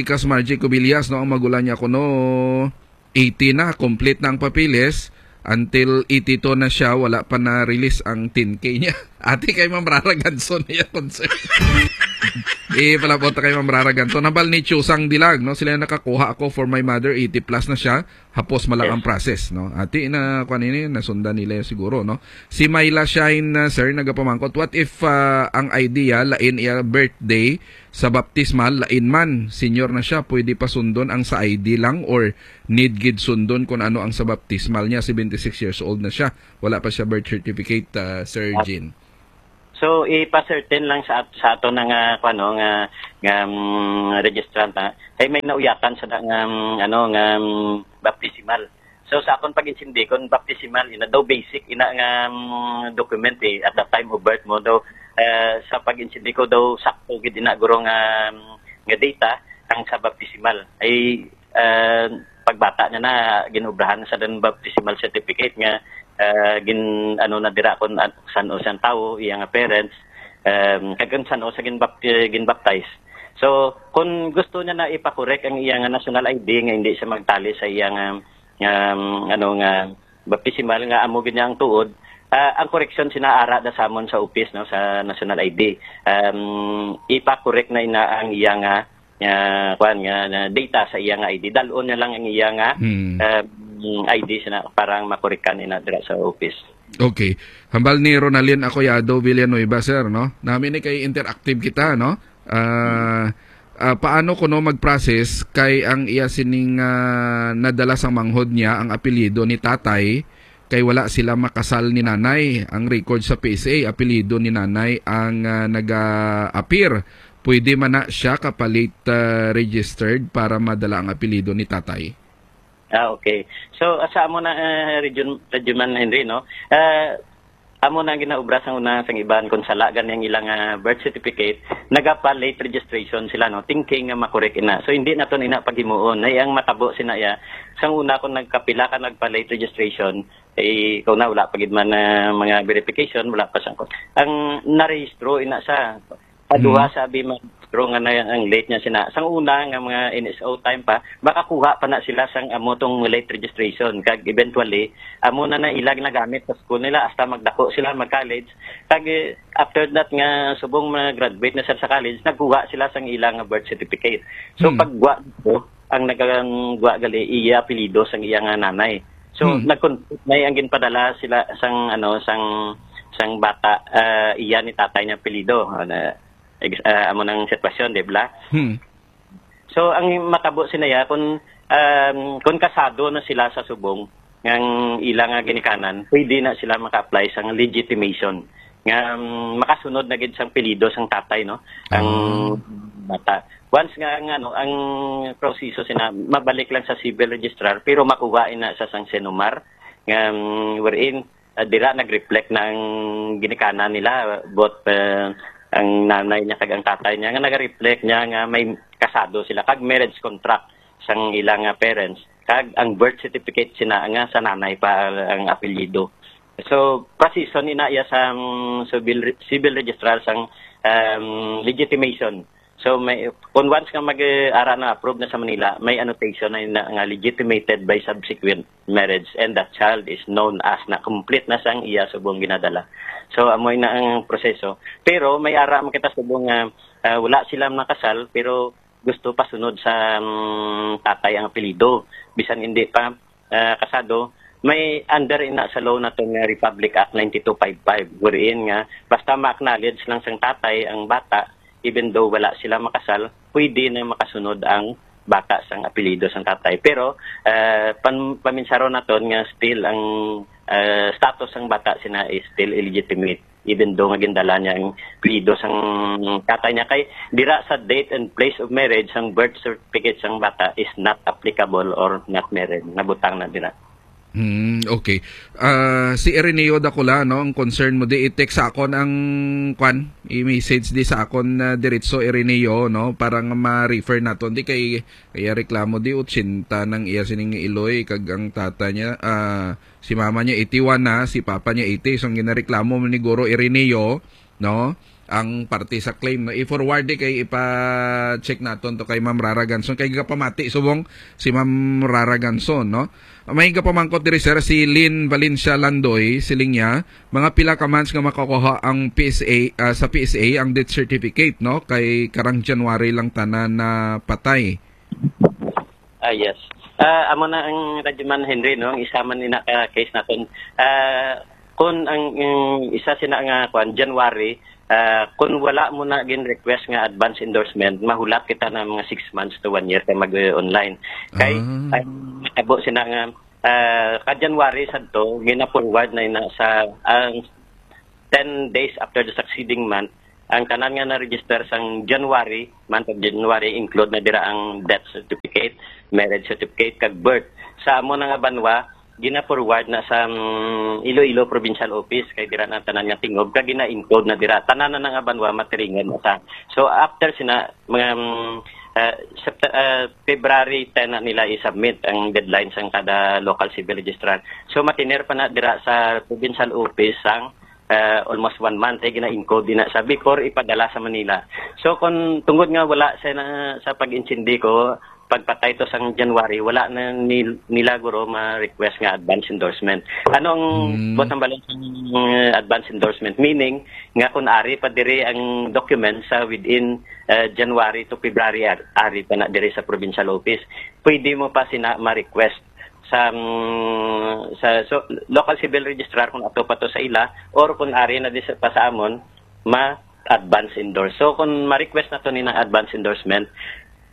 Kas Margie Cubillas, no, ang magulang niya kuno, eighty na, complete na ang papeles, Until eighty-two na siya, wala pa na-release ang ten K niya. Ati kay Ma'am Rara Ganson, iya concern. Ipalabot kay Ma'am Rara Ganson. Hambal ni Chusang Dilag, no? Sila nakakuha ako for my mother, eighty plus na siya. Hapos man lang Yes. ang process, no? Ati na, kwan ini, nasundan nila siguro, no? Si Myla Shine, uh, sir, nagapamangkot, what if, uh, ang I D niya, lain iya birthday, sa baptismal, lain man, senior na siya, pwede pa sundon ang sa I D lang or need gid sundon kung ano ang sa baptismal niya, seventy-six years old na siya, wala pa siya birth certificate, ah, Sir Ah. Jean? So, ipa-certain lang sa at-, sa ato na nga, kuwan, no, nga, nga, mm, registrant, ha? Kay may nauyatan sa da-, nga, mm, ano, nga, mm, baptismal. So, sa akon pag-intindi, kung baptismal, ina daw basic, ina nga, mm, document, eh, at the time of birth mo, daw, eh, sa pag-intindi ko, daw sakto gid ina guro nga, mm, nga data ang sa baptismal. Ay, eh, pagbata niya na, ginobrahan sa dan baptismal certificate nga, eh, gin-, ano na dira kung an-, san-o siyang tawo, iya nga parents, em, kag kung san-o siya ginbap-, eh, ginbaptize. So, kung gusto niya na ipakorek ang iya nga national I D nga hindi siya magtali sa iya nga, nga, ano, nga baptismal nga amo gid niya ang tuod, ah, ang koreksyon sina ara da sa amon sa office, no, sa national I D. Um, ipakorek na ina ang iya nga, nga, kuwan, nga, nga data sa iya nga I D. Dalon niya lang ang iya nga, Hmm. um, I D sina para ang makorekan ina dira sa office. Okay. Hambal ni Ronalyn Acoyado Villanueva, sir, no? Nami ni kay interactive kita, no? Ah, ah, paano kuno mag-process kay ang iya sining, ah, nadala sang manghod niya ang apelyido ni tatay kay wala sila makasal ni nanay? Ang record sa P S A, apelyido ni nanay ang, ah, naga-appear. Pwede man na siya kapalit, ah, registered para madala ang apelyido ni tatay? Ah, okay. So, ah, sa amo na, ah, Region-, Regionman Henry, no? Ah, amo na ang ginaobra sang una sang iban, kung sala gani ang ilang, ah, birth certificate, nagapa-late registration sila, no? Thinking nga makorek ina. So, hindi naton ina paghimuon. Ay, ang matabo sina iya, sang una kung nagkapila ka nagpa-late registration, eh, kung na, wala pa gid man, ah, mga verification, wala pa sang, ang narehistro ina sa paduha Mhm. sa abi man, pero nga na ang late niya sina. Sang una nga mga N S O time pa, makakuha pa na sila sang amo tong late registration. Kag eventually, amo na na ilag nagamit sa school nila hasta magdako sila, mag-college. Kag, eh, after that nga subong mag-graduate na sila sa college, nagkuha sila sang ilang birth certificate. So, Hmm. pagwa dito, ang nagangwa gali iya apelyido sang iya nga nanay. So, Hmm. nagkon-, may ang ginpadala sila sang, ano, sang, sang bata, ah, iya ni tatay niya apelyido. Ano, ex-, ah, amo nang sitwasyon, di ba? Hmm. So, ang matabo sinaya, kung, um, kung kasado na sila sa subong, ngang ila nga ginikanan, pwede na sila maka-apply sang legitimation. Nga, um, makasunod na gid sang apelyido sang tatay, no? Ang Ah. bata. Once nga, ang, ano, ang proseso sina, mabalik lang sa civil registrar, pero makuha ina sa sang CENOMAR, nga, um, wherein, ah, dira nag-reflect na ang ginikanan nila, both, ah, ang nanay niya kag ang tatay niya, nga nag-reflect niya nga may kasado sila kag marriage contract sang ilang, ah, parents, kag ang birth certificate sina nga sa nanay pa ang apelyido. So, proseso ni na iya sa, um, civil, civil registrar sang, um, legitimation. So, may, kung once nga mag, eh, ara na approve na sa Manila, may annotation na, na nga legitimated by subsequent marriage and that child is known as na complete na sang iya subong ginadala. So, amoy na ang proseso. Pero may ara man kita subong nga, ah, wala sila nakasal, pero gusto pa sunod sa, mm, tatay ang apelyido. Bisan hindi pa, ah, kasado, may under ina sa law nato nga Republic Act ninety-two five five, wherein nga basta ma-acknowledge lang sang tatay ang bata, even though wala sila makasal, pwede na makasunod ang bata sang apelyido sang tatay. Pero, ah, pan-, paminsaron naton nga still ang, ah, status sang bata sina is still illegitimate, even though nga gindala niya ang apelyido sang tatay niya. Kay dira sa date and place of marriage, ang birth certificate sang bata is not applicable or not married. Nabutang na dira. Hmm, okay. Ah, si Ireneo Dakula, no, ang concern mo di, i-text sa akon ang, kwan, i-message di sa akon, ah, diretso, Ireneo, no, para nga ma-refer naton. Di kay, kaya reklamo di, ochenta nang iya sining iloy, kag ang tata niya, ah, si mama niya eighty-one na, si papa niya eighty. So, ang ginareklamo man ni Guro Ireneo, no? ang parte sa claim, no? I-forward di kay ipa-check naton to kay Ma'am Rara Ganson. Kay gapamati subong si Ma'am Rara Ganson, no? May gapamangkot diri, sir, si Lynn Valencia Landoy, siling niya, mga pila ka months nga makukuha ang P S A, ah, sa P S A ang death certificate, no? Kay karang January lang tanan na patay. Ah, yes. Ah, amo na ang Radyoman Henry, no? Ang isa man ina ka case naton. Ah, kung ang, ang isa sina nga kwan, January, ah, kung wala mo na gin request nga advance endorsement, mahulat kita na mga six months to one year kay mag-online. Kay Ah. Ang tabo sina nga ah, ka January sadto gina-forward na ina sa ang ten days after the succeeding month, ang tanan nga na-register sang January, month of January, include na dira ang death certificate, marriage certificate, kag birth. Sa amo na nga banwa, gina-forward na sa mm, Iloilo Provincial Office, kay dira na tanan nga tingob, kag gina-encode na dira. Tanan na nga banwa, matiringan na sa. So, after sina, mga mm, ah, Sept- ah, February ten na nila i-submit ang deadline sang kada local civil registrar. So, matiner pa na dira sa provincial office sang ah, almost one month ay gina-encode din na sa before ipadala sa Manila. So kung tungod nga wala sa na, sa pag-intindi ko, pagpatay to sang January, wala na ni, nila guro ma-request nga advance endorsement. Anong Mm. buot ang balon sang uh, advance endorsement? Meaning nga kung ari pa diri ang document sa within uh, January to February, ar- ari pa na diri sa provincial office, pwede mo pa sina ma-request sa mm, sa so, local civil registrar kung ato pa to sa ila or kung ari na di sa, pa sa amon, ma advance endorse. So kung ma-request na to ni ng advance endorsement,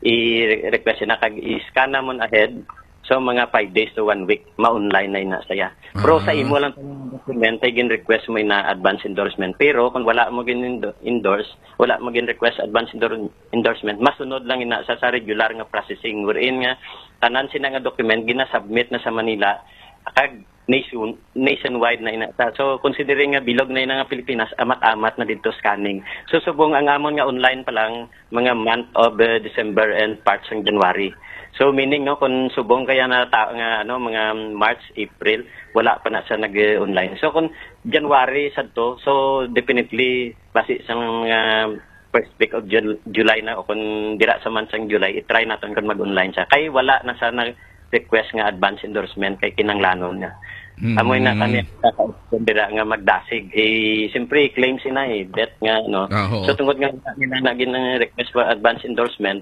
i-request na kag i-scan na mo ahead. So mga five days to one week, ma-online na ina saya. Pero sa Ah. imo lang tong document ay gin-request mo ina advance endorsement. Pero kung wala mo gin-endorse, wala mo gin-request advance endor- endorsement, masunod lang ina sa, sa regular nga processing wherein nga tanan sina nga document ginasubmit na sa Manila kag nation, nationwide na ina. So considering nga bilog na ina nga Pilipinas, amat-amat na dito scanning. So subong ang amon nga online pa lang mga month of uh, December and parts ng January. So meaning no kung subong kaya na ta- nga ano mga March, April, wala pa na sa nag-online. So kung January sadto, so definitely basi sa mga first week of Jul- July na o kung dira sa month sang July, i-try naton kung mag-online siya. Kay wala na sa nag-request nga advance endorsement kay kinanglanon nga. Mm. Amoy na kami kung dira nga magdasig. Eh, siyempre, claims ina eh, debt nga, no? Ah, oo. So, tungod nga wala nila na gin-request for advance endorsement,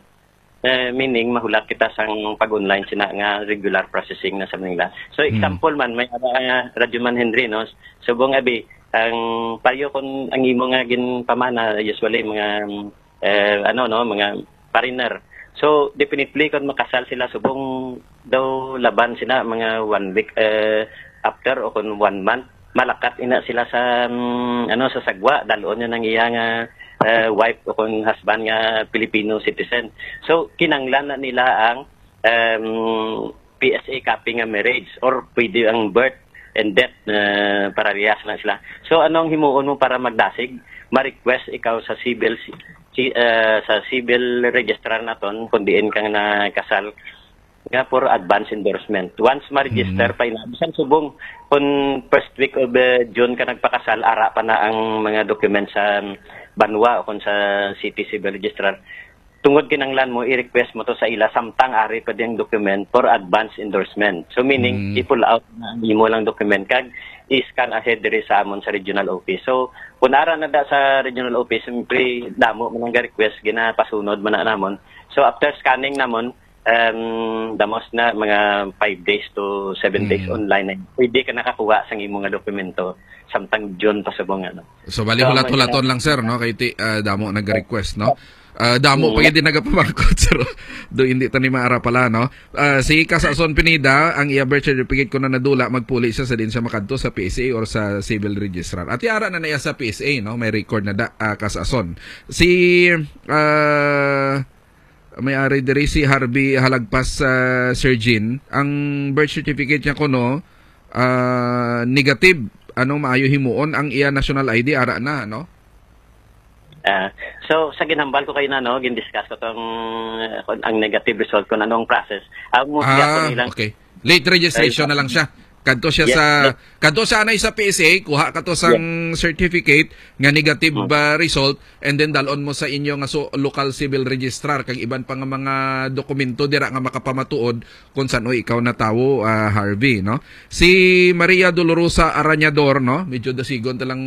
eh, meaning, mahulat kita sang pag-online sina nga regular processing na sa Manila. So, Mm. example man, may uh, Radyo Man Henry, no? Subong abi, ang payo kung ang imo nga ginpamana, usually, mga, eh, ano, no, mga foreigner. So, definitely, kung makasal sila, subong daw laban sila, mga one week eh, after o kung one month, malakat ina sila sa, mm, ano, sa sagwa, dalon niya ng iya nga eh, wife o kung husband nga Filipino citizen. So, kinanglan na nila ang um, P S A copy nga marriage or pwede ang birth and death uh, parehas na sila. So, anong himuon mo para magdasig? Ma-request ikaw sa civil si, si- uh, sa civil registrar naton kung diin ka nakasal nga for advance endorsement. Once ma-register Mhm. pa ina, bisan subong kung first week of uh, June ka nagpakasal, ara pa na ang mga documents sa banwa o kung sa city civil registrar. Tungod kinanglan mo, i-request mo to sa ila samtang ari pa ding document for advance endorsement. So meaning, Mm. i-pull out na ang imo lang document kag i-scan ahead diri sa amon sa regional office. So, kung ara na da sa regional office, siyempre, damo man ang request, ginapasunod man na namon. So, after scanning namon, um, damos na mga five days to seven days Mm. online na. Pwede ka nakakuha sa imo nga dokumento samtang June pa subong ano. So, bali So, hulat-hulaton may- lang, sir, no? Kay ti, ah, damo nag-request, no? Ah, damo Mm. pa gid nagapamangkot, sir. Do hindi tani maara pala, no? Ah, si Kasason Pineda, ang iya birth certificate ko na nadula, magpuli siya sa din siya makadto sa P S A or sa civil registrar. At ara na na iya sa P S A, no? May record na da, ah, Kasason. Si, ah, may ari diri si Harvey Halagpas, ah, Sir Jean. Ang birth certificate niya kuno, ah, negative. Anong maayo himuon ang iya national I D ara na, no? Ah, so sa ginhambal ko kayo na no, gin-discuss ko tong uh, ang negative result kung anong process. Ang mo Ah, nilang okay. Late registration Ay, na lang siya. Kadto siya Yes, sa, yes. kadto siya anay sa P S A, kuha ka to sang certificate nga negative, Mm. ah, result, and then dalon mo sa inyo nga su-, local civil registrar kag iban pa nga mga dokumento dira nga makapamatuod kung san-o ikaw natawo, ah, Harvey, no? Si Maria Dolorosa Arañador, no? Medyo dasigon ta lang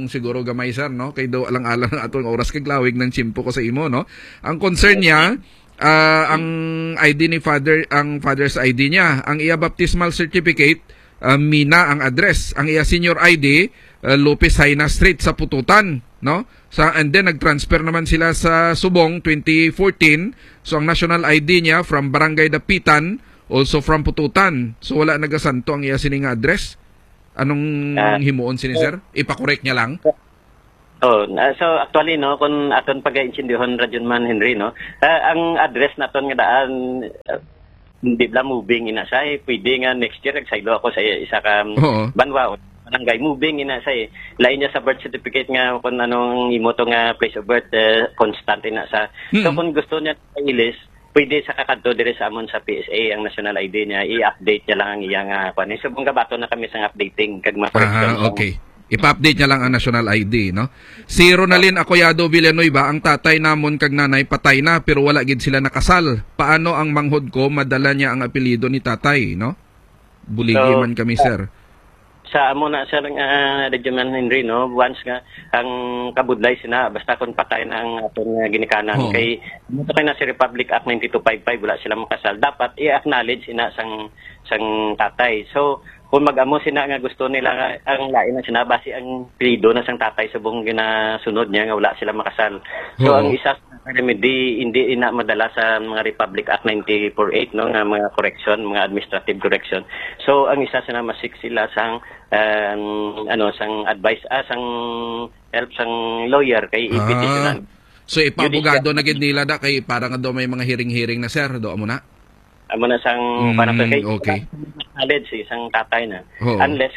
siguro gamay, sir, no? Kay daw alang-alang ang atong oras kag lawig ng tiyempo ko sa imo, no? Ang concern niya, ah, ang I D ni father, ang father's I D niya, ang iya baptismal certificate, ah, Mina ang address. Ang iya senior I D, ah, Lopez Jaena Street sa Pututan, no? Sa, and then nag-transfer naman sila sa Subong twenty fourteen. So ang national I D niya from Barangay Dapitan, also from Pututan. So wala nagasanto ang iya sini nga address. Anong Ah. himuon sini, sir? Ipakorek niya lang? Oh, na, so actually, no, kung aton pagaintindihan, Radyoman Henry, no, ah, ang address naton nga daan, ah, hindi bala moving ina siya, eh. Pwede nga next year nagsaylo ako sa isa ka Oo. banwa o barangay, moving ina siya, eh. Lain niya sa birth certificate nga kung anong imo to nga place of birth, eh, constant ina siya. So, Mm. kung gusto niya ilis, pwede sa kakadto diri sa amon sa P S A ang national I D niya, i-update niya lang ang iya nga kwan. So, kung gabato na kami sa updating kag mga correction Ah, sa okay. Ipa-update niya lang ang national I D, no? Si Ronalyn Acoyado Villanueva, ang tatay namon kag nanay patay na, pero wala gid sila nakasal. Paano ang manghod ko madala niya ang apelyido ni tatay, no? Buligi So, man kami, sa, sir. sa amo na, sir, nga, Radyoman Henry, no? Once nga, ang kabudlay sina, basta kung patay na ang aton nga ginikanan, Oo. kay, amo to kay na si Republic Act ninety-two five five, wala sila makasal. Dapat i-acknowledge ina sang, sang tatay. So, kung mag-amo sina nga gusto nila nga ang lain na sina, basi ang apelyido na sang tatay subong ginasunod niya nga wala sila makasal. So, Oo. ang isa sa remedy, hindi ina madala sa mga Republic Act ninety-four eight, no, nga mga correction, mga administrative correction. So, ang isa sina masik sila sang, um, ano, sang advice, ah, sang help sang lawyer kay Ah. i-petitionan. So, ipaabogado Judicial. na gid nila da kay para nga daw may mga hearing-hearing na, sir, do amo na? Amo na sang Mm, para sa kay okay. Knowledge, isang tatay na. Oo. Unless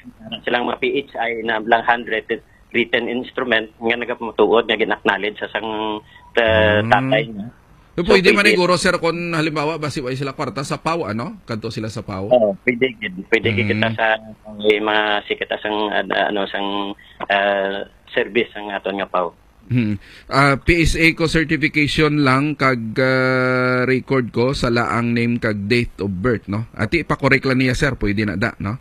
silang mga P H I na lang handwritten written instrument nga nagapamatuod nga gin-acknowledge sa sang, uh, Mm. tatay na. So, So, pwede man pwede. siguro, sir, kung halimbawa, basi way sila kwarta sa paw, ano? Kadto sila sa paw? Oo, pwede gid. Pwede gid kita Mm. sa, eh, mga sikita sang, ad-, ano, sang, uh, service ang aton nga paw. Hmm. Ah, P S A ko certification lang kag, ah, record ko sa laang name kag date of birth, no? Ati, ipakorek lang niya, sir. Pwede na da, no?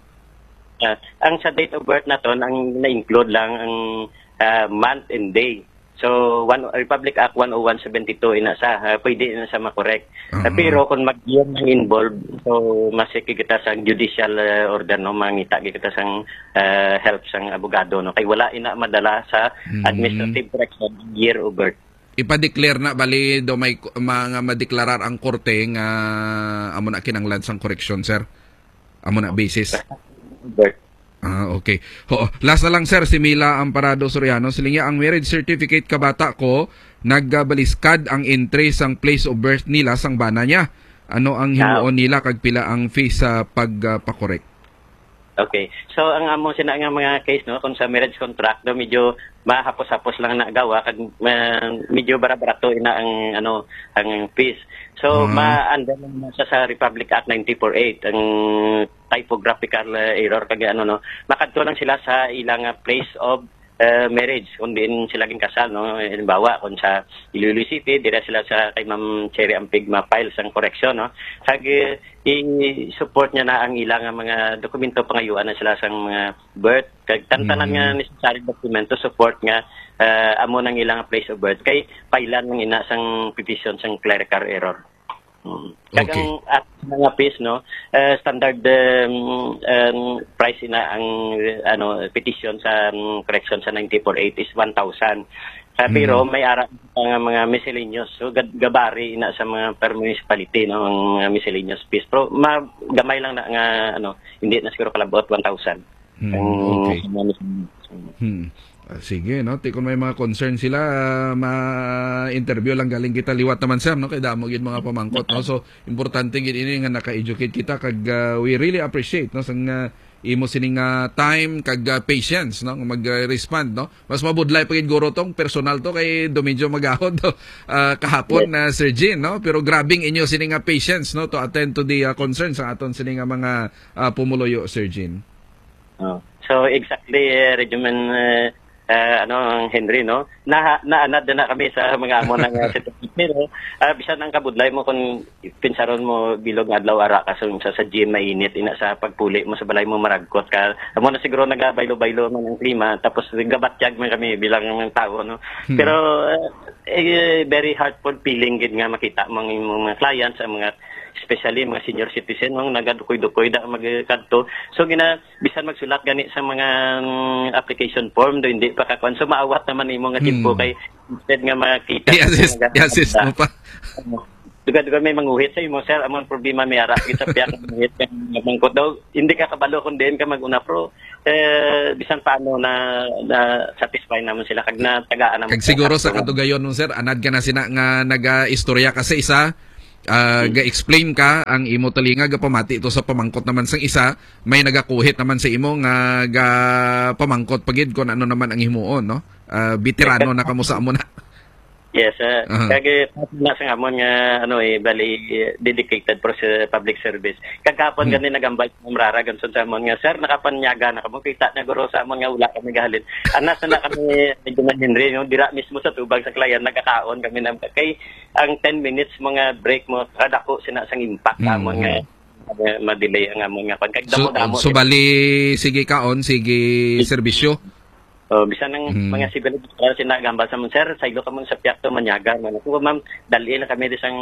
Ah, ang sa date of birth naton, ang na-include lang ang, ah, month and day. So, one, Republic Act one oh one seventy-two ina sa, ah, pwede na sa makorek. Ah, Aha. pero kung mag-year nang involved, so, masiki kita sa judicial, ah, order, no? Mangita kita sang, ah, help sang abogado, no? Kay wala ina madala sa Mm. administrative correction year of birth. Ipa-declare na, bali, do may ku-, mga madeklarar ang korte nga amo na kinanglan sang koreksyon, sir? Amo na basis? Birth. Ah, okay. Oo. Last na lang, sir, si Mila Amparado Soriano. Siling niya, ang marriage certificate ka bata ko, nagbaliskad ang entry sang place of birth nila sang bana niya. Ano ang Ah. himuon nila kag pila ang fees sa pag, ah, pakorek? Okay. So, ang amo sina nga mga case, no, kung sa marriage contract, no, medyo mahapos-hapos lang na gawa, kag, ah, medyo barabarato ina ang, ano, ang fees. So, Ah. ma-, under lang na sa, sa Republic Act ninety-four eight, ang typographical, uh, error, kag ano, no, makadto lang sila sa ilang, uh, place of, uh, marriage, kung diin sila ginkasal, no. Halimbawa, kung sa Iloilo City, dira sila sa kay Ma'am Cherry Ampig ma-file sang correction, no. Kag, uh, i-support niya na ang ilang mga dokumento, pangayuan na sila sang mga birth, kag tantanan nga Mm. necessary dokumento support nga, uh, amo nang ilang place of birth, kay file-an lang ina sang petition sang clerical error. Mm. Kag Okay. ang at mga fees, no, eh, standard, um, um, price na ang, ano, petition sa, um, correction sa ninety-four eight is one thousand. Sa, pero Mm. may ara pa nga mga miscellaneous. So, gad-, gabari na sa mga per municipality, no, ang mga miscellaneous fees. Pero ma-, gamay lang na nga, ano, hindi na siguro kalabot one thousand. Hmm, Ang okay. mga miscellaneous. Hmm. Ah, sige, no? Ti, kung may mga concern sila, ah, ma-interview lang galing kita liwat naman, sir, no? Kay damo gyud mga pamangkot, no? So, importante gyud ini nga naka-educate kita kag, ah, we really appreciate, no, sang, ah, imo sini nga time kag, ah, patience, no, nga mag-respond, no? Mas mabudlay pa gid guro tong personal to kay do medyo magahod to, ah, kahapon na, Sir Jean, no? Pero grabing inyo sini nga patience, no, to attend to the, ah, concerns sa aton sini nga mga, ah, pumuluyo, Sir Jean. Oh. So, exactly, eh, Regiment, eh, eh, ano, ang Henry, no? Na, naanad na kami sa mga amo nga, ah, sitwasyon, no? Ah, bisan ang kabudlay mo kung pinsaron mo bilog nga adlaw ara ka sa, sa, sa gym mainit, ina sa pagpuli mo sa balay mo maragkot ka. Amo na siguro nagabaylo-baylo man ang klima, tapos gabatyag man kami bilang mga tao, no? Hmm. Pero, eh, eh, very heartful feeling gid nga makita mo ang imong mga clients, ang mga, especially mga senior citizen, no, nagadukoy-dukoy da magkadto. So, gina-, bisan magsulat gani sa mga, mm, application form, do hindi pa kakuan. So, maawat naman nimo nga timpo Hmm. kay instead nga makita I-assist, ka nga i-assist mo pa. Duga-duga may manguhit sa imo, sir. Among problema may ara kita piyak manguhit kang mangkot daw. Hindi ka kabalo kung diin ka mag-una, pero, eh, bisan paano na, na satisfy naman sila kag natagaan naman Kag sila siguro sa sa katugayon nun, sir, anad ka na sina nga naga-istorya ka sa isa, ah, Hmm. ga-explain ka ang imo talinga, gapamati to sa pamangkot naman sang isa, may nagakuhit naman sa imo nga gapamangkot pa gid kung ano naman ang himuon, no? Ah, veterano na kamo sa amo na. Yes, ah, Aha. kag, eh, na sa amon nga, ano, eh, bali, eh, dedicated for sa public service. Kagapon Hmm. gani nagambal sa Ma'am Rara Ganson sa amon nga, "Sir, nakapanyaga na kamo, kita na guro sa amon nga wala kami gahalin." Anas na kami ni Gina Henry, no? Dira mismo sa tubag sa client, nagkakaon kami na, kay ang ten minutes mga break mo, kadako sina sang impact sa amon nga, Hmm. eh, ma-delay ang amon nga kwan. Kag So, damo-damo so sila. bali, sige kaon, sige serbisyo. Oh, bisan ang Mhm. mga civil official sila gambal sa amon, "Sir, saylo ka man sa piyakto, manyaga man." Ako, "Ma'am, dali lang kami di sang,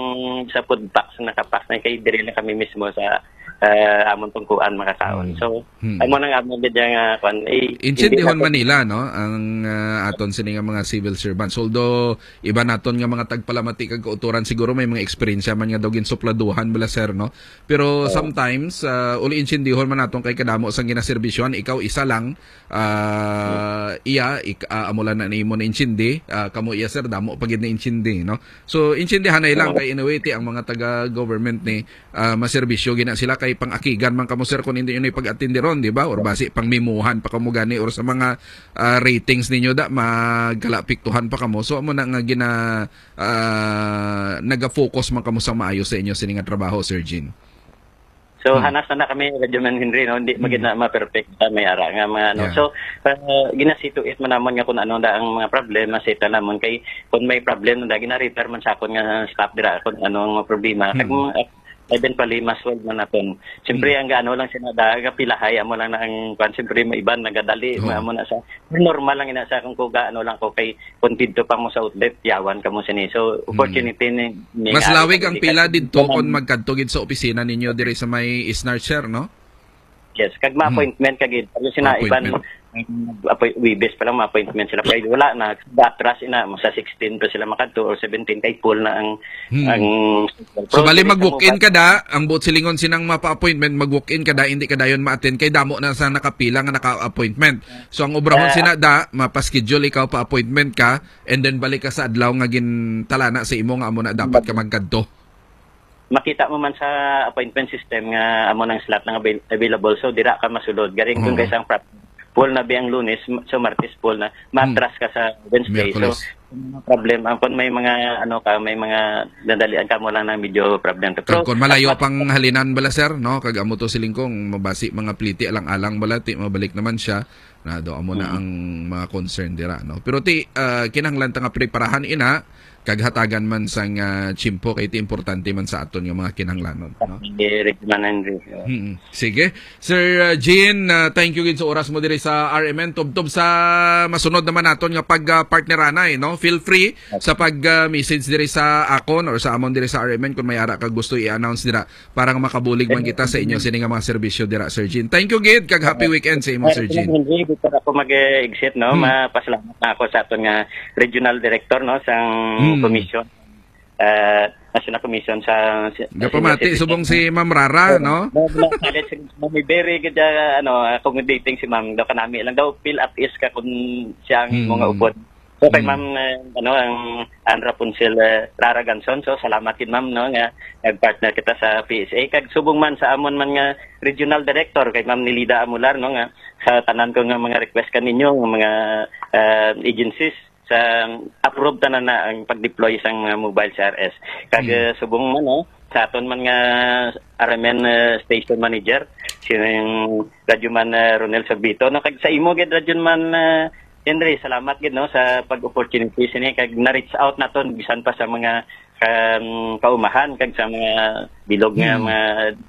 sa food pack, sa nakapack na kay diri lang kami mismo sa, ah, amon tong kuan makakaon." Hmm. So, Hmm. amo nang amon gid nga kuan, eh, Intindihan hindi na man nila, no, ang, ah, aton sini nga mga civil servants. Although, iba naton nga mga tagpalamati kag kauturan, siguro may mga eksperyensya man nga daw ginsupladuhan bala, sir, no? Pero Oo. sometimes, ah, uli intindihan man naton kay kadamo sang ginaserbisyohan, ikaw isa lang, ah, iya, ik-, ah, amo lang na nimo na intindi, ah, kamo iya, sir, damo pa gid na intindi, no? So, intindihanay lang Oo. kay anyway, ti ang mga taga-government ni, ah, maserbisyo gina sila kay pang-akigan man kamo, sir, kung hindi yun ipag-atindiron, di ba? Or basi pang mimuhan pa kamo gani or sa mga, ah, ratings ninyo da, magkalapiktuhan pa kamo. So, amo na nga gina-, ah, naga-focus man kamo sa maayo sa inyo sini nga trabaho, Sir Jean? So, Hmm. hanas na na kami, Radyo Man Henry, no? Hindi Hmm. magid na ma-perfect sa may ara nga mga ano. Yeah. So, ah, ginasituate man naman nga kung ano na ang mga problema sa ita naman. Kay kung may problem na, gina-refer man sa akon nga staff dira kung ano ang mga problema. Kag, Hmm. ah, eventually, ma-solve man natin. Siyempre, Hmm. ang gaano lang sila, da, gapilahay, amo lang na ang kwan. Siyempre, may iban, nagadali, Oo. amo na sa, normal lang ina sa kung kuga, ano lang ko, kay kung didto pa mo sa outlet, yawan ka mo sini. So, Hmm. opportunity ni, ni Mas nga lawig ang ang pila didto kung magkadto gid sa opisina ninyo diri sa may Isnar, sir, no? Yes, kag Hmm. ma-appointment ka gid. Pero sina iban, Ma-appointment. um, appoint-, Webes pa lang ma-appointment sila. Pero wala na, atras ina, sa sixteen pa sila makadto or seventeen kay full na ang, Hmm. ang So, Pero bali dili sa mag-walk-in mobile. ka da, ang buot silingon sinang mapa-appointment, mag-walk-in ka da, hindi ka dayon ma-attend, kay damo na sa nakapila nga naka-appointment. So, ang obrahon Ah. sina da, mapa-schedule ikaw pa-appointment ka, and then balik ka sa adlaw nga gintalana sa imo nga amo na dapat ka Balik. magkadto. Makita mo man sa appointment system nga amo nang slot nga avail-, available, so dira ka masulod. Garing dun Oo. kay sang prop-, full na bi ang Lunes, m-, so Martes full na, Hmm. matras ka sa Wednesday. Miyerkules. So, ang mga problem, ang kung may mga, ano ka, may mga nadalian ka mo lang ng medyo problem. Kag Pero, kung malayo as much pang halinan bala, sir, no? Kag amo to siling kong mabasi mga pliti alang-alang bala, ti mabalik naman siya. Na do amo na Mm. ang mga concern dira, no? Pero ti, ah, kinahanglan ta nga preparahan ina, kag hatagan man sang, ah, tiyempo kay ti importante man sa aton nga mga kinahanglanon, no? Sige, Regman Henry. Mm. Sige. Sir, uh, Jean, uh, thank you gid sa oras mo diri sa R M N. Tubtob sa masunod naman naton nga pag, uh, partneranay, no? Feel free sa pag, uh, message diri sa akon or sa amon diri sa R M N kung may ara ka gusto i-announce dira para nga makabulig man kita sa inyo sini nga mga serbisyo dira, Sir Jean. Thank you gid, kag happy weekend sa imo, Sir Jean. Hindi pa ako mag-exit, no? Hmm. Mapasalamat na ako sa aton nga regional director, no, sang Hmm. komisyon. Ah, National Commission sa, sa Gapamati, Senior Citizen. Subong si Ma'am Rara, Oo. no? No, no, salit si Ma'am, very good, ah, ano, accommodating si Ma'am. Daw kanami lang daw, feel at ease ka kung siya ang Hmm. mga upod. So, kay Mm. Ma'am, eh, ano, ang, ang Rapunzel, eh, Rara Ganson. So, salamat gid, ma'am, no, nga nag-partner kita sa P S A. Kag subong man sa amon man nga regional director, kay Ma'am Nilida Amular, no, nga sa tanan ko nga mga request kaninyo, nga mga, eh, agencies, sa approve tanan na ang pag-deploy sang mga mobile C R S. Kag, Mm. eh, subong man, no, sa aton man nga R M N, eh, station manager, si Radyo Man, eh, Ronel Sorbito, no? Kag sa imo gid, Radyo Man, eh, Henry, salamat gid, no, sa pag-opportunity sini, kag na-reach out naton bisan pa sa mga, um, kaumahan kag sa mga bilog nga Mm. mga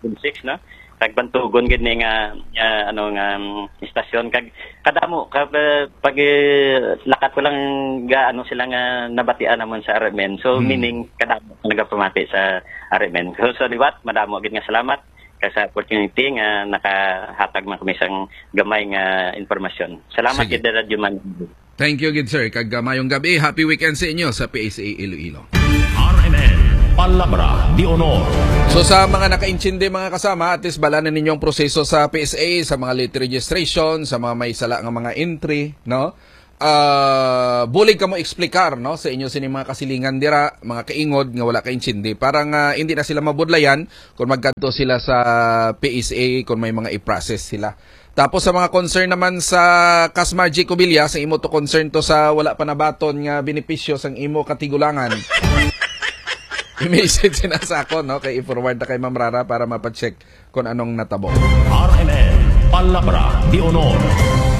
districts, no? Kag bantugon gid ni nga, nga, ano, nga, um, istasyon, kag kadamo ka, eh, pag, eh, lakat ko lang ga, ano, sila nga nabatian namon sa R M N. So, Hmm. meaning, kadamo ka nagapamati sa R M N. So, sa liwat, madamo gid nga salamat ka sa opportunity nga nakahatag man kami sang gamay nga impormasyon. Salamat Sige. gid, Radyo Man. Thank you gid, sir. Kag, ah, mayong gabi. Happy weekend sa inyo sa P S A Iloilo. R M N, Palabra de Honor. So, sa mga nakaintindi, mga kasama, at least bala na ninyo ang proseso sa P S A, sa mga late registration, sa mga may sala nga mga entry, no? Ah, bulig kamo explicar, no, sa inyo sini mga kasilingan dira, mga kaingod nga wala kaintindi. Para nga hindi na sila mabudlayan kung magkadto sila sa P S A, kung may mga i-process sila. Tapos sa mga concern naman sa Kasma G Cobilla, sa imo to concern to sa wala pa nabaton nga benepisyo sang imo katigulangan. I-message na sa ako, no? Kay i-forward na kay Ma'am Rara para mapacheck kung anong natabo. R M N, Palabra de Honor.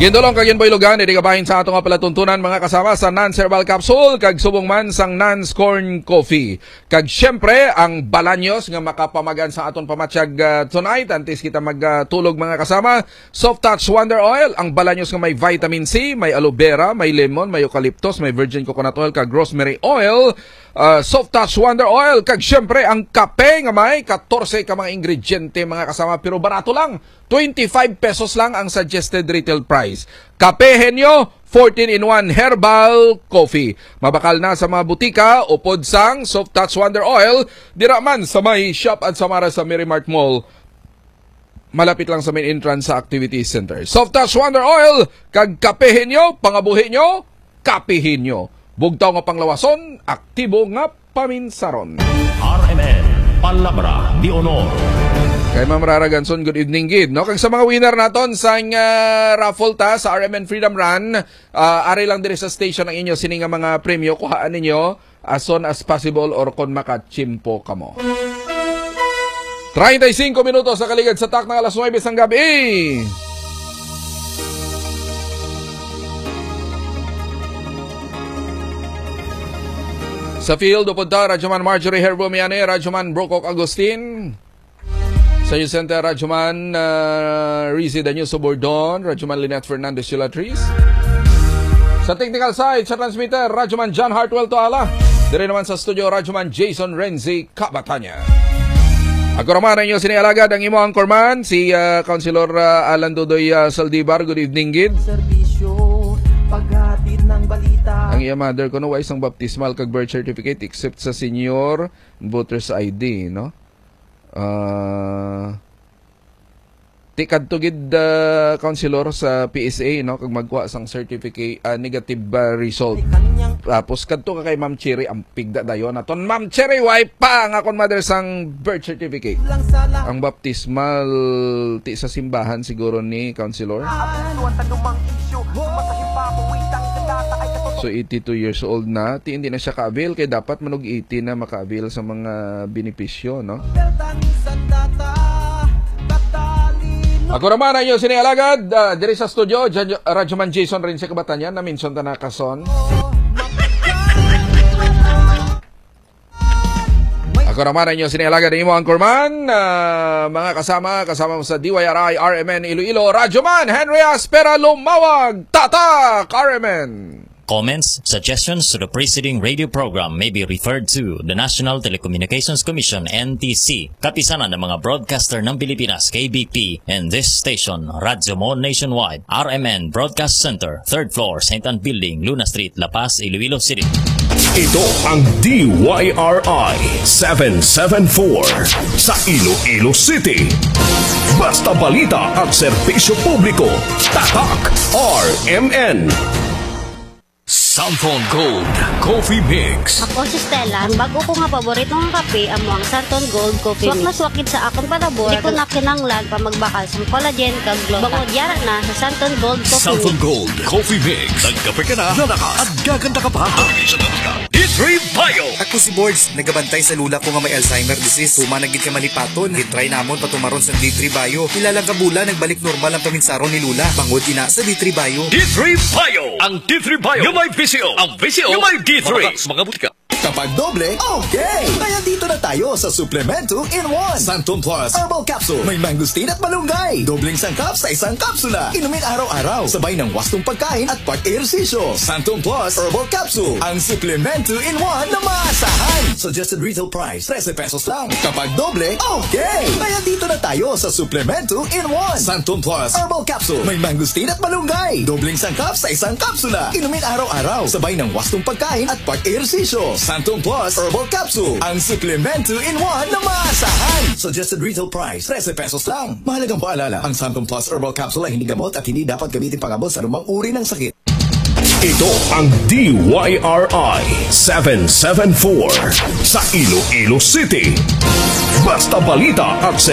Gindulong kag ginbuylogan, diri kabahin sa ato nga palatuntunan, mga kasama, sa Nans Herbal Capsule, kag subong man sang Nans Corn Coffee. Kag siyempre, ang balanyos nga makapamagan sa aton pamatyag, ah, tonight, antes kita magtulog, mga kasama, Soft Touch Wonder Oil, ang balanyos nga may vitamin C, may aloe vera, may lemon, may eucalyptus, may virgin coconut oil, kag rosemary oil. Ah, Soft Touch Wonder Oil, kag siyempre, ang kape nga may katorse ka mga ingrediente, mga kasama, pero barato lang. Twenty-five pesos lang ang suggested retail price. Kape Henyo, fourteen-in-one Herbal Coffee. Mabakal na sa mga butika, upod sang Soft Touch Wonder Oil, dira man sa may Shop at Samara sa Merry Mart Mall. Malapit lang sa main entrance sa Activity Center. Soft Touch Wonder Oil, kag Kape Henyo, pangabuhi nyo, kapihin nyo. Bugtaw nga panglawason, aktibo nga paminsaron. R M N, Palabra de Honor. Kay Ma'am Rara Ganson, good evening gid, no? Kag sa mga winner naton sa, ah, raffle ta sa R M N Freedom Run, ah, ari lang diri sa station ang inyo sini nga mga premyo, kuhaan ninyo as soon as possible or kon makachimpo kamo. Treinta y cinco minutos sa kaligad sa tak ng alas nuebe sang gabi. Sa field, upod ta, Radyoman Marjorie Herbo Miane, Radyoman Brokok Agustin. Sa News Center, Radyoman, ah, Rizzy Daniel Sobordon, Radyoman Lynette Fernandez Yulatris. Sa technical side, sa transmitter, Radyoman John Hartwell Toala. Diri naman sa studio, Radyoman Jason Renzi Kabatanya. Ako naman ang inyo sini alagad, ang imo anchorman, si, ah, Councilor, ah, Alan Dudoy, ah, Saldivar. Good evening, gid. Serbisyo, paghatid ng balita. Ang iya mother, kuno wa isang baptismal kag birth certificate except sa senior voter's I D, no? Ah, ti kadto gid, ah, Councilor, sa P S A, no, kag magkuha sang certificate, ah, negative, ah, result. Tapos kadto ka kay Ma'am Cherry, ang pigda dayon naton. Ma'am Cherry, way pa ang akon mother sang birth certificate. Ang baptismal, ti sa simbahan siguro ni Councilor. So, eighty-two years old na, ti hindi na siya ka-avail, kay dapat manog eighty na maka-avail sa mga benepisyo, no? Ako naman ang inyo sini alagad, ah, diri sa studio, Jan-, Radyoman Jason Renzi Kabatanya, na-mention ta na kason. Ako naman ang inyo sini alagad, ang imo anchorman, ah, mga kasama, kasama mo sa D Y R I R M N Iloilo, Radyoman Henry Aspera Lumawag, Tatak R M N. Comments, suggestions to the preceding radio program may be referred to the National Telecommunications Commission, N T C, Kapisanan ng mga Broadcaster ng Pilipinas, K B P, and this station, Radyo Mo Nationwide, R M N Broadcast Center, third floor, Saint Ann Building, Luna Street, La Paz, Iloilo City. Ito ang D Y R I seven seven four sa Iloilo City. Basta balita at serbisyo publiko, Tatak R M N. Santon Gold Coffee Mix. Ako si Stella. Ang bag-o ko nga paborito nga kape amo ang Santon Gold Coffee Mix. Suwak na suwak gid sa akon palabor. Di ko na kinahanglan pa magbakal sang collagen kag gluta. Bangod yara na sa Santon Gold Coffee Santon Mix. Gold Coffee Mix. Nagkape ka na, lalakas, at gaganda ka pa. Sa D three Bio. Ako si Bords, nagabantay sa lola ko nga may Alzheimer disease. Human na gid ka malipaton. Gitry namon patumaron sa D three Bio. Pila lang ka bulan, nagbalik normal ang paminsaron ni lola. Bangod ina sa D three Bio. D three Bio. Ang D three Bio. Yung may V C O. Ang V C O. Yung may D three. Mga, mga butika. Kapag doble, okay! Kaya dito na tayo sa Suplemento in one. Santon Plus Herbal Capsule. May mangosteen at malunggay. Dobleng sangkap sa isang kapsula. Inumin araw-araw. Sabay ng wastong pagkain at pag-ehersisyo. Santon Plus Herbal Capsule. Ang suplemento in one na maasahan. Suggested retail price, trese pesos lang. Kapag doble, okay! Kaya dito na tayo sa Suplemento in one. Santon Plus Herbal Capsule. May mangosteen at malunggay. Dobleng sangkap sa isang kapsula. Inumin araw-araw. Sabay ng wastong pagkain at pag-ehersisyo. Santon Plus Herbal Capsule. Ang suplemento in one na maasahan. Suggested retail price, trese pesos lang. Mahalagang paalala, ang Santon Plus Herbal Capsule ay hindi gamot at hindi dapat gamitin pang-abot sa anumang uri ng sakit. Ito ang D Y R I seven seven four sa Iloilo City. Basta balita at